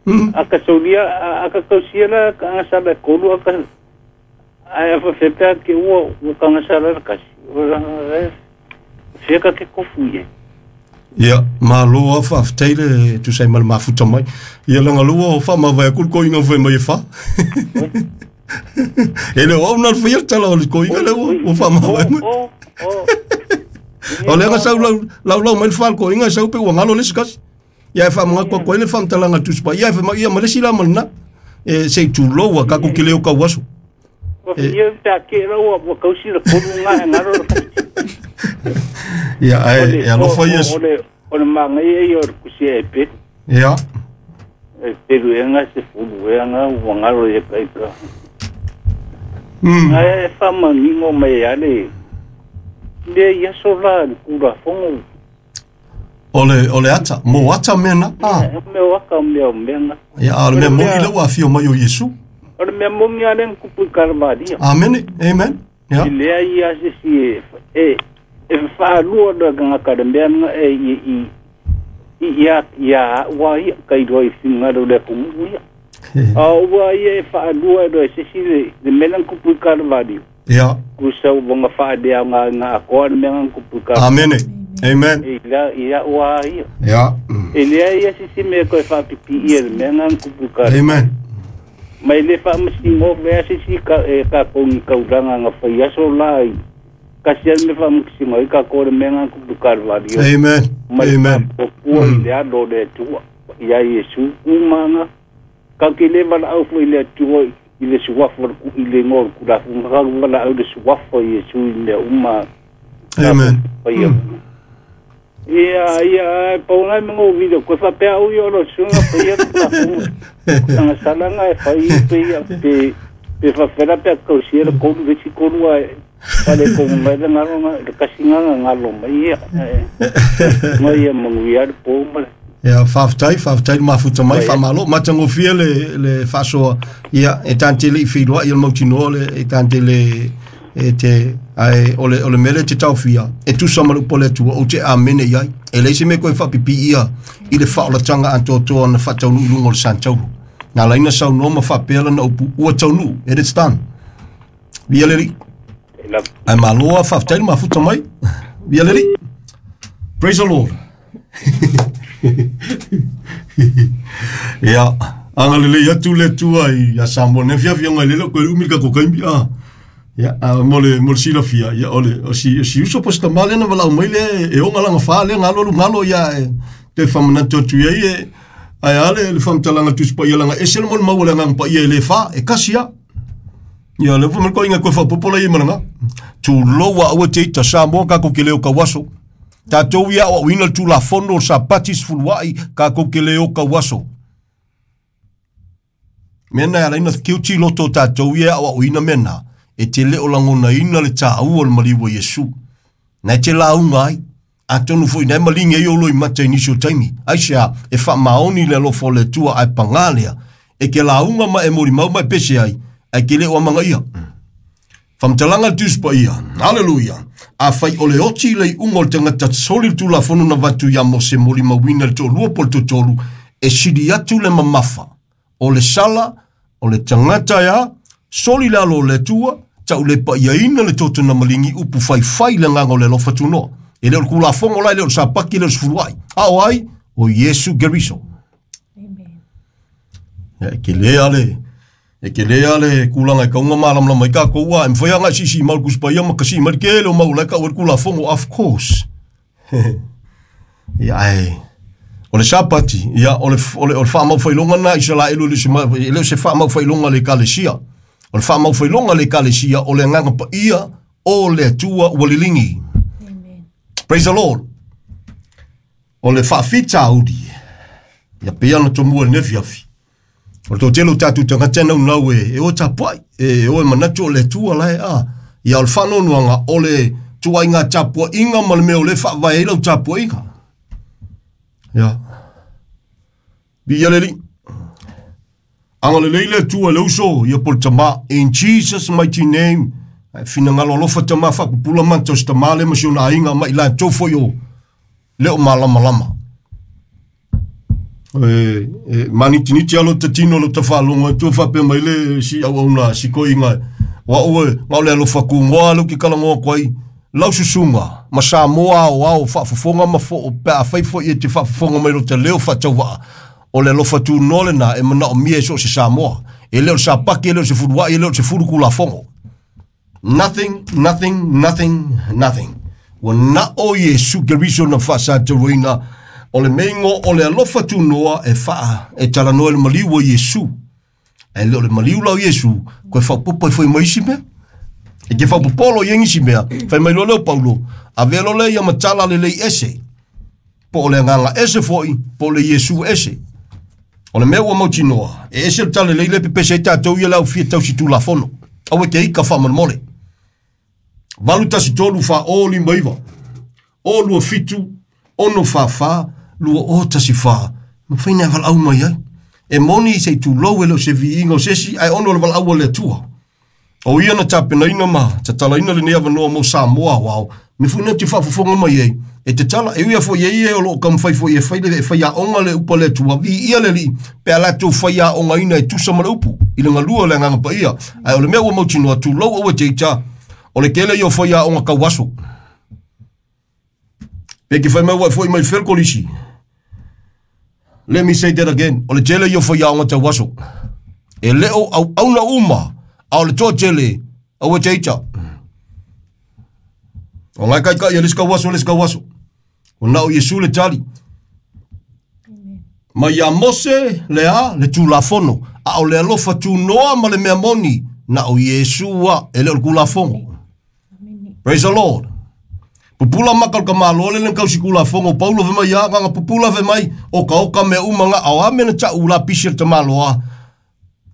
Mm. Aka saulia aka kausia la ka nga sala kolu aka ai afa fepea ke ua ua ka nga sala la kasi. Ua nga fia ka ke kofu ie. Ia, malo a whaaftai le tu sai mal mafuta mai. Ia langa lua o wha mawai akul ko inga whai mai e wha. E le o na whai tala o le ko inga le o o wha mawai mai. O, o, O le nga sau lau lau lau mai le wha ko inga sau pe ua ngalo le sikasi. Ia e wha mga kwa koe le wha mtalanga tuspa. Ia e wha ia malesi la malina. E sei tuloua kako ki leo kau aso. Ua fia pea ke la ua ua kausi la kolu ngā e ngaro la Ia e e alofa Iesu. O le o le manga ia ia o le kusia e peru. Ia. E peru e ngā se fulu e ngā ua ngaro e kaika. Mm. Ngā e wha mangingo mai ale. Le ia so la le kura fongo. O le o le ata, mo ata mena. Ah. E mea waka mea o mea ngā. Ia a le mea mongi le ua fio mai o Iesu. O le mea mongi ale nkupu i karavaria. Amen. Amen. Ia. I lea ia se si e e e whaalua la ngā kare mea ngā e i i i ia ia ua ia kai roa i whingaro le kumu ia. A ua ia e whaalua roa se si le le mea nkupu i karavaria. Ia. Kusa wanga whaadea ngā ngā akoa le mea nkupu i karavaria. Amen. Amen. E la ia ua ia. Ia. E lea ia se si mea koe whaapipi ia le mea ngā nkupu i karavaria. Amen. Mai le whaamasingo mea se si ka e ka kongi kauranga ngā whai aso la i. Kasi al me whaamasingo i ka kore mea ngā kupu karavaria. Amen. Mai Amen. whakapua i le alo le atua. Ia Iesu umanga. Ka ke le wala au fo i le atua i le suafa i le ngoa kulafu. Ka wala au le suafa i Iesu i mea uma. Amen. Ia, ia, ia, paungai mga video. Koe whapea au i oro sunga pa ia kulafu. Tanga salanga e whai pe ia pe pe whawhera pea kausia le kolu veti kolu a wale kongu mai le ngaro nga le kasinga nga ngalo mai ia. Nga ia manguia le pō male. Ia whaaftai, whaaftai mafuta mai, whamalo. Matangofia le, le whasoa, ia, e tante le i whiloa, ia le mautinoa le, e tante le, e te, ai, o le, o le mele te tauwhia, e tusa malu pole atua, o te amene iai. E leise me koe whapipi ia, i le whaolatanga antoatoa na whataunu i lunga o le santauro. Nā laina sau noa ma whapela na upu, ua taunu, it is done. Via leri. Ai maloa whaaftai mafuta mai. Via leri. Praise the Lord. Ia, anga lele ia tu le tua i a Samoa. Ne fia fia ngai lele koe umi ka kokaimi. Ah. Ia, a mo le mo le silafia, ia o le o si o si uso po se tamā lea na valaau mai lea e oga laga fā lea galo alu galo ia e toe faamanatu atu i ai e ae a le le faamatalaga Tusi Paia laga ese le molimau o le Agaga Paia e lē fā e kasi a. Ia le fai mai koiga koe faapopo lai ma laga. Tulou a aua te ita Samoa kākou ke le o kauaso. Tātou ia o auina le Tulafono o le Sapati sefuluai kākou ke le o kauaso. Mea na e ala ai ona kiuti loto o tātou ia e auauina mea na, e te le o lagonaina le tāua o le maliu a Iesu. Na e te lauga ai, atonu foi na e maligi ai ou loimata i nisi o taimi. Aisea, e faamaoni le alofa o le Atua ae pagā lea, e ke lauga ma e molimau ma e pese ai, ae ke le o amagaia. Faamatalaga le Tusi Paia, Haleluia! Afai o le oti le iuga o le tagata soli le Tulafono na avatu iā Mose molimauina i le toalua po o le toatolu, e sili atu le mamafa o le sala o le tagata e a, soli le alo o le Atua, tau le paiaina le toto na maligi upu faifai i le agaga o le alofa tunoa. E le o le Tulafono la, e le o le Sapaki, e le o le Sefuluai. A o ai? O Iesu Keriso. Ia, e kele lava le, e kele lava le kulaga e kauga malamalama ai kākou, a e mafai lava ona e siisii mau i le Tusi Paia ma kasii mai le kele o mau o la e kau ai le Tulafono, of course. Ia, ae o le Sapati, ia, o le, o le, o le faamaufailoga lena a Isaraelu, e le o se, e le o se faamaufailoga a le Ekalesia. O le faamaufailoga a le Ekalesia, o le Agaga Paia o le Atua ua liligi. Amen. Praise the Lord. O le faafitauli, ia pei ona tomua i lenei afiafi, o le toatele o tatou tagata e naunau e, e o e tapuai, e o e manatu o le Atua la e a. Ia o le faanoanoaga o le tuaiga tapuaiga ma le mea o lea e faavae ai lau tapuaiga. Ia. Viia le Alii. Agalelei le Atua i le uso, ia po le tamā. In Jesus mighty name. Ae finagalo alofa tamā faapupula mata o se tamā lea ma si ona aiga ma i latou foi o le o malamalama. E, e manitiniti lava lota tino lota faalogo atu faapea mai le si auauna si koiga o au e na o le alofa kugoa lea ou te talanoa atu ai lau susuga ma Samoa aoao faafofoga ma foo pe afai foi e te faafofoga mai lota leo faatauvaa o le alofa tunoa lena e manaomia e so o se Samoa e le o le sapaki e le o se fuluai e le o le sefulu Tulafono. Nothing, nothing, nothing, nothing. Ua na o Iesu Keriso na faasatauaina o le meigo o le alofa tunoa e faa e talanoa i le maliu o Iesu. Ae le o le maliu la o Iesu, koe faaopoopo ai foi ma isi mea. E te faapopolo i ai nisi mea, fai mai loa lea o Paulo, avea loa lea ia ma tala lelei ese, po o le agaga ese foi, po o le Iesu ese. O le mea ua mautinoa, e ese le tala lelei lea e pepese ai tatou ia le au fia tausi Tulafono. Aua e te ika faamolemole. Valu tasi tolu fa o lima iva, o lua fitu, ono fa fa, lua o tasi fa. Mafai ona e valaau mai ai. E moni se i tulou e le o se viiga o se isi, ae ono o le valaau a le Atua. O ia na tapenaina ma tatalaina lenei avanoa mo Samoa aoao, me foi na te faafofoga mai ai, e tatala, e ui lava foi e ia o lo o taumafai foi e fai le, e faiaoga le upu a le Atua, viia le Alii, pe a latou faiaogaina e tusa ma le upu, i le galua o le Agaga Paia. Ae o le mea ua mautinoa, tulou aua te ita, o le tele ia o faiaoga tauaso. Pe ke fai mai ua e foi mai fea le kolisi. Let me say that again, o le tele ia o faiaoga tauaso. E le o auauna uma, a o le toatele, aua te ita. O ngai kaikai e le isi kauaso, le isi kauaso. O na o Iesu le tali. Mai ia Mose le a le Tulafono, a o le alofa tunoa ma le mea moni, na o Iesu a, e le o le Tulafono. Praise the Lord. Pupula maka o le tamaloa le na tausi Tulafono o Paulo fai mai ia, nganga pupula fai mai, oka oka mea uma nga, a o a mea na tau la pisi a le tamaloa.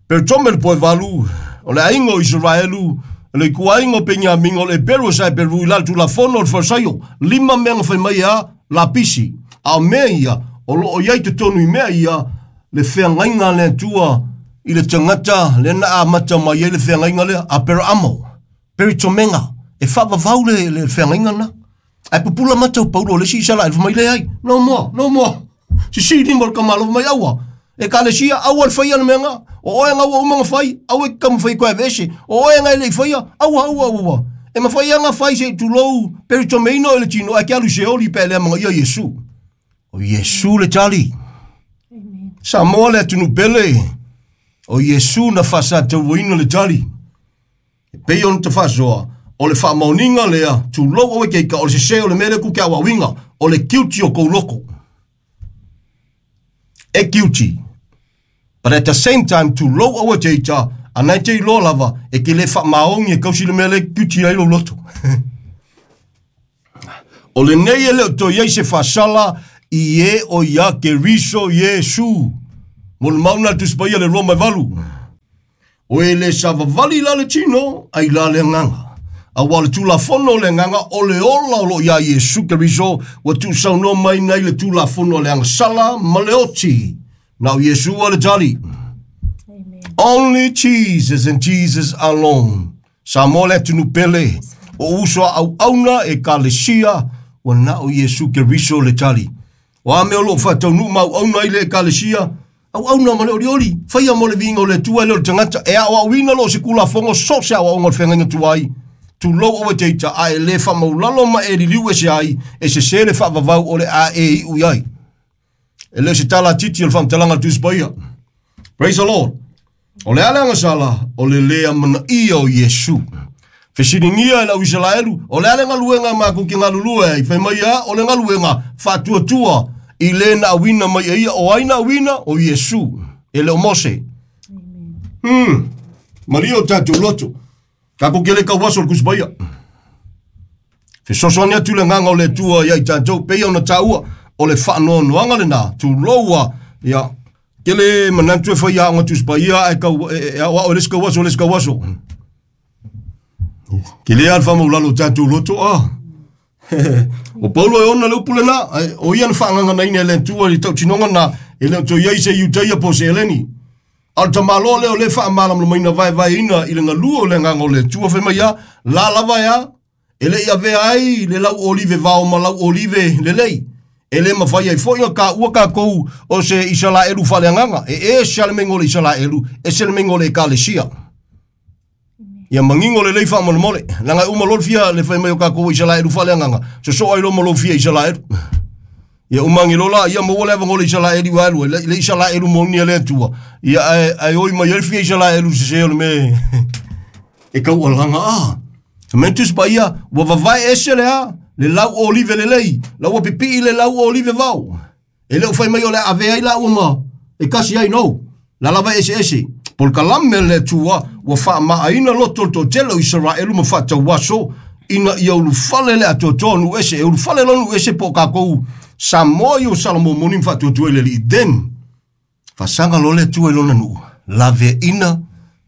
Pero tome le poe valu, o le aiga o Isaraelu, le ituaiga o Peniamina, o le Eperu o Saeperu i la le Tulafono o le Farisaio, lima mea na fai mai a lapisi. A o mea ia, o lo o i ai totonu i mea ia, le feagaiga a le Atua i le tagata lea na amata mai ai le feagaiga lea, Aperaamo, Peritomega, e faavavau le, le feagaiga lena. Ae pupula mata o Paulo o le isi Isaraelu, fai mai leai, no more, no more. Sisi lima o le tamaloa, fai mai aua, Ekalesia, aua le faia le mea nga. O oe nga ua uma ona fai, aua e te taumafai koe aveese. O oe nga e le i faia, aua, aua, aua. E mafai lava ona fai se i tulou peritomeina oe le tino, ae ke alu i Seoli pe a le amanaia Iesu. O Iesu le tali. Samoa le atunuu pele. O Iesu na faasatauaina le tali. E pei ona tafaasoa o le faamaoniga lea tulou oe keika o le sesē o le mea lea ku ke auauiga o le kiuti o kou loko. E kiuti. But at the same time, tulou oe teita, anai te iloa lava, e ke le faamaogi e kausi le mea lea kiuti ai lou loto. O lenei e le o toe i ai se faasala i e o ia Keriso Iesu. Mo le mauna le Tusi Paia le Roma e valu. O e le savavali la le tino, ai la le agaga. Auā le Tulafono o le agaga o le ola o loo iā Iesu Keriso ua tuusaunoa mai nei le Tulafono a le agasala ma le oti. Na o Iesu a le tali. Amen. Only Jesus and Jesus alone. Samoa le atunuu pele. O uso a auauna e kalesia ua na o Iesu Keriso le tali. O a mea o loo faataunuu ma auauna ai le ekalesia, auauna ma le olioli, faia mo le viiga o le Atua e le o le tagata, e aoaoina loo se kulafogo so se aoaoga o le feagaiga tuai. Tulou oe teita a e lē faamaulalo ma e liliu ese ai, e sesē le faavavau o le a e iu i ai. E le o se tala titi o le faamatalaga a le Tusi Paia. Praise the Lord. O le a le agasala, o le lē amanaia o Iesu. Fesiligia e le au Isalaelu, o le a le galuega makou ke galulue ai, fai mai a, o le galuega faatuatua i lē na auina mai e ia, o ai na auina, o Iesu, e le o Mose. Hmm. Malie o tatou loto. Takou ke le kauaso o le Tusi Paia. Fesoasoani atu le agaga o le Atua ia i tatou, peia ona taua, o le faanoanoaga lenā, tuloua, ia, ke le manatu e fai aoga Tusi Paia ae kau, e, e aoao e le isi kauaso le isi kauaso. Ke le a le faamaulalo o tatou loto a. O Paulo e ona le upu lenā, ae o ia na faagaganaina e le Atua i le tautinoga na, e le o toe i ai se Iutaia po o se Eleni. A o le tamaloa lea o lē faamalamalamaina vaevaeina i le galue o le agaga o le Atua fai mai a, la lava e a, e le i avea ai le lau olive vao ma lau olive lelei. E lē mafai ai foi ona kāua kākou o se Isalaelu faaleagaga. E ese a le meiga o le Isalaelu, ese le meiga o le ekalesia. Ia manino lelei faamolemole. Leaga e uma loa le fia le fai mai o kākou o Isalaelu faaleagaga, sosoo ai loa ma lou fia Isalaelu. Ia umagi loa la, ia maua le avanoa o le Isalaeli ua alu ai, le, le Isalaelu moni a le Atua. Ia ae, ae oi mai ai le fia Isalaelu sesē o le mea e taualaga a. Sa mea Tusi Paia, ua vavae ese le a, le lau olive lelei, la ua pipii le lau olive vao. E le o fai mai o le a avea ai laua ma e kasi ai no. La lava ese ese. Po le kalame a le Atua, ua faamaaina loto o le toatele o Isaraelu ma faatauaso, ina ia ulufale le atoatoa o nuu ese. E ulufale loa nuu ese po o kākou Samoa i o Salamo moni ma faatuatua i le Alii. Then, faasaga loa le Atua i lona nuu, laveaina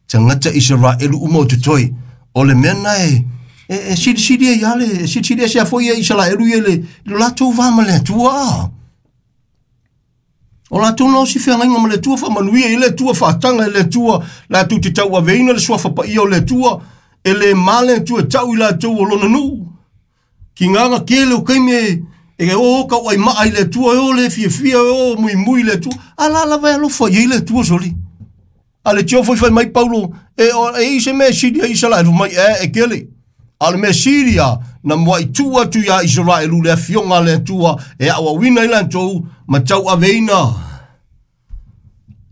tagata Isaraelu uma o totoe. O le mea na e, e, e silisili ai lava le, e silisili ese a foi e Isaraelu ia i le, i lo latou va ma le Atua. O latou na osi feagaiga ma le Atua, faamanuia i le Atua, faataga i le Atua, latou te tauaveina le suafa paia o le Atua, e le ma le Atua e tau i latou o lona nuu. Kigaga tele o taimi e, e o tauaimaa i le Atua, e o le fiafia, e o muimui i le Atua, a la lava e alofa i ai le Atua soli. A le tio foi fai mai Paulo, e, o, e i se mea sili a Isaraelu mai, e, e kele. A o le mea sili a, na muai tuu atu iā Isaraelu le afioga a le Atua e aoaoina ai latou ma tauaveina.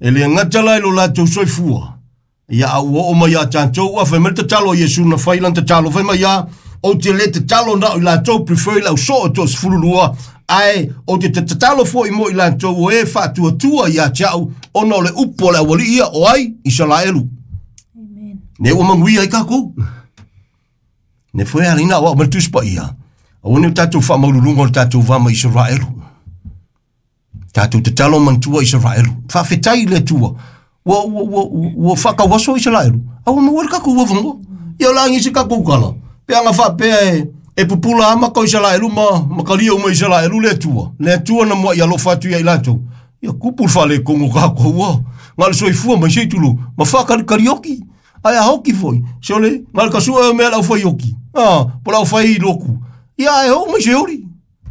E le gata la i lo latou soifua, ia a ua oo mai ia tatou, ua fai mai le tatalo a Iesu na fai lana tatalo, fai mai a, ou te le tatalo na o i latou, prefer i lau soo e toasefulu lua, ae ou te tatalo foi mo i latou o e faatuatua ia te au, ona o le upu a le aualii ia, o ai? Isaraelu. Amen. Ne ua manuia ai kākou. Ne foi a leina aoao mai le Tusi Paia, aua ne o tatou faamaululuga o le tatou va ma Isaraelu. Tatou tatalo manatua Isaraelu. Faafetai i le Atua, ua, ua, ua, ua faatauaso Isaraelu, a ua maua ai le tatou avanoa. Ia o le a ni se tatou tala, pe ana faapea e, e pupula amata o Isaraelu ma, ma talia uma e Isaraelu le Atua, le Atua na muai alofa atu ia i latou. Ia kupu le faaletonu o tatou ua, na o le soifua mai se i tulou, ma faakalikalioki. Ae a hoki foi, sole, na o le kasua e o mea le aufai oki, a, po o le aufai loku. Ia ae oo mai se oli.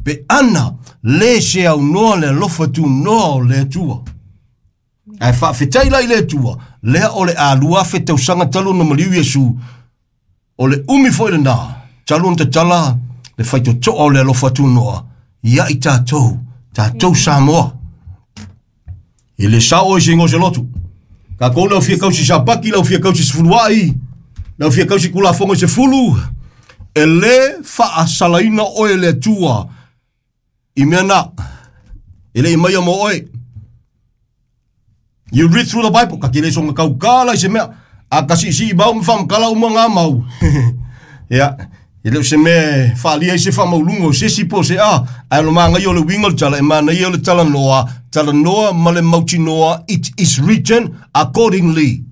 Pe ana, le se aunoa le alofa tunoa o le Atua. Ae faafetai la i le Atua, lea o le a lua afe tausaga talu ona maliu Iesu, o le umi foi lenā, talu ona tatala le faitotoa o le alofa tunoa ia i tatou, tatou Samoa. E le sao oe se igoa o se lotu. Tatou lau fia kausi sapaki, lau fia kausi sefuluai, Lau fia kausi kulafogo i se fulu, e lē faasalaina oe le Atua i mea na e le i maia mo oe. You read through the Bible, ka ke le songa kaukala i se mea, a ka siisii mau ma faamakala uma gā mau. Ia, e le o se mea faalia i se faamauluga o se isi po o se a, ae o le magaia o le uiga o le tala, e manaia o le talanoa, talanoa ma le mautinoa, it is written accordingly.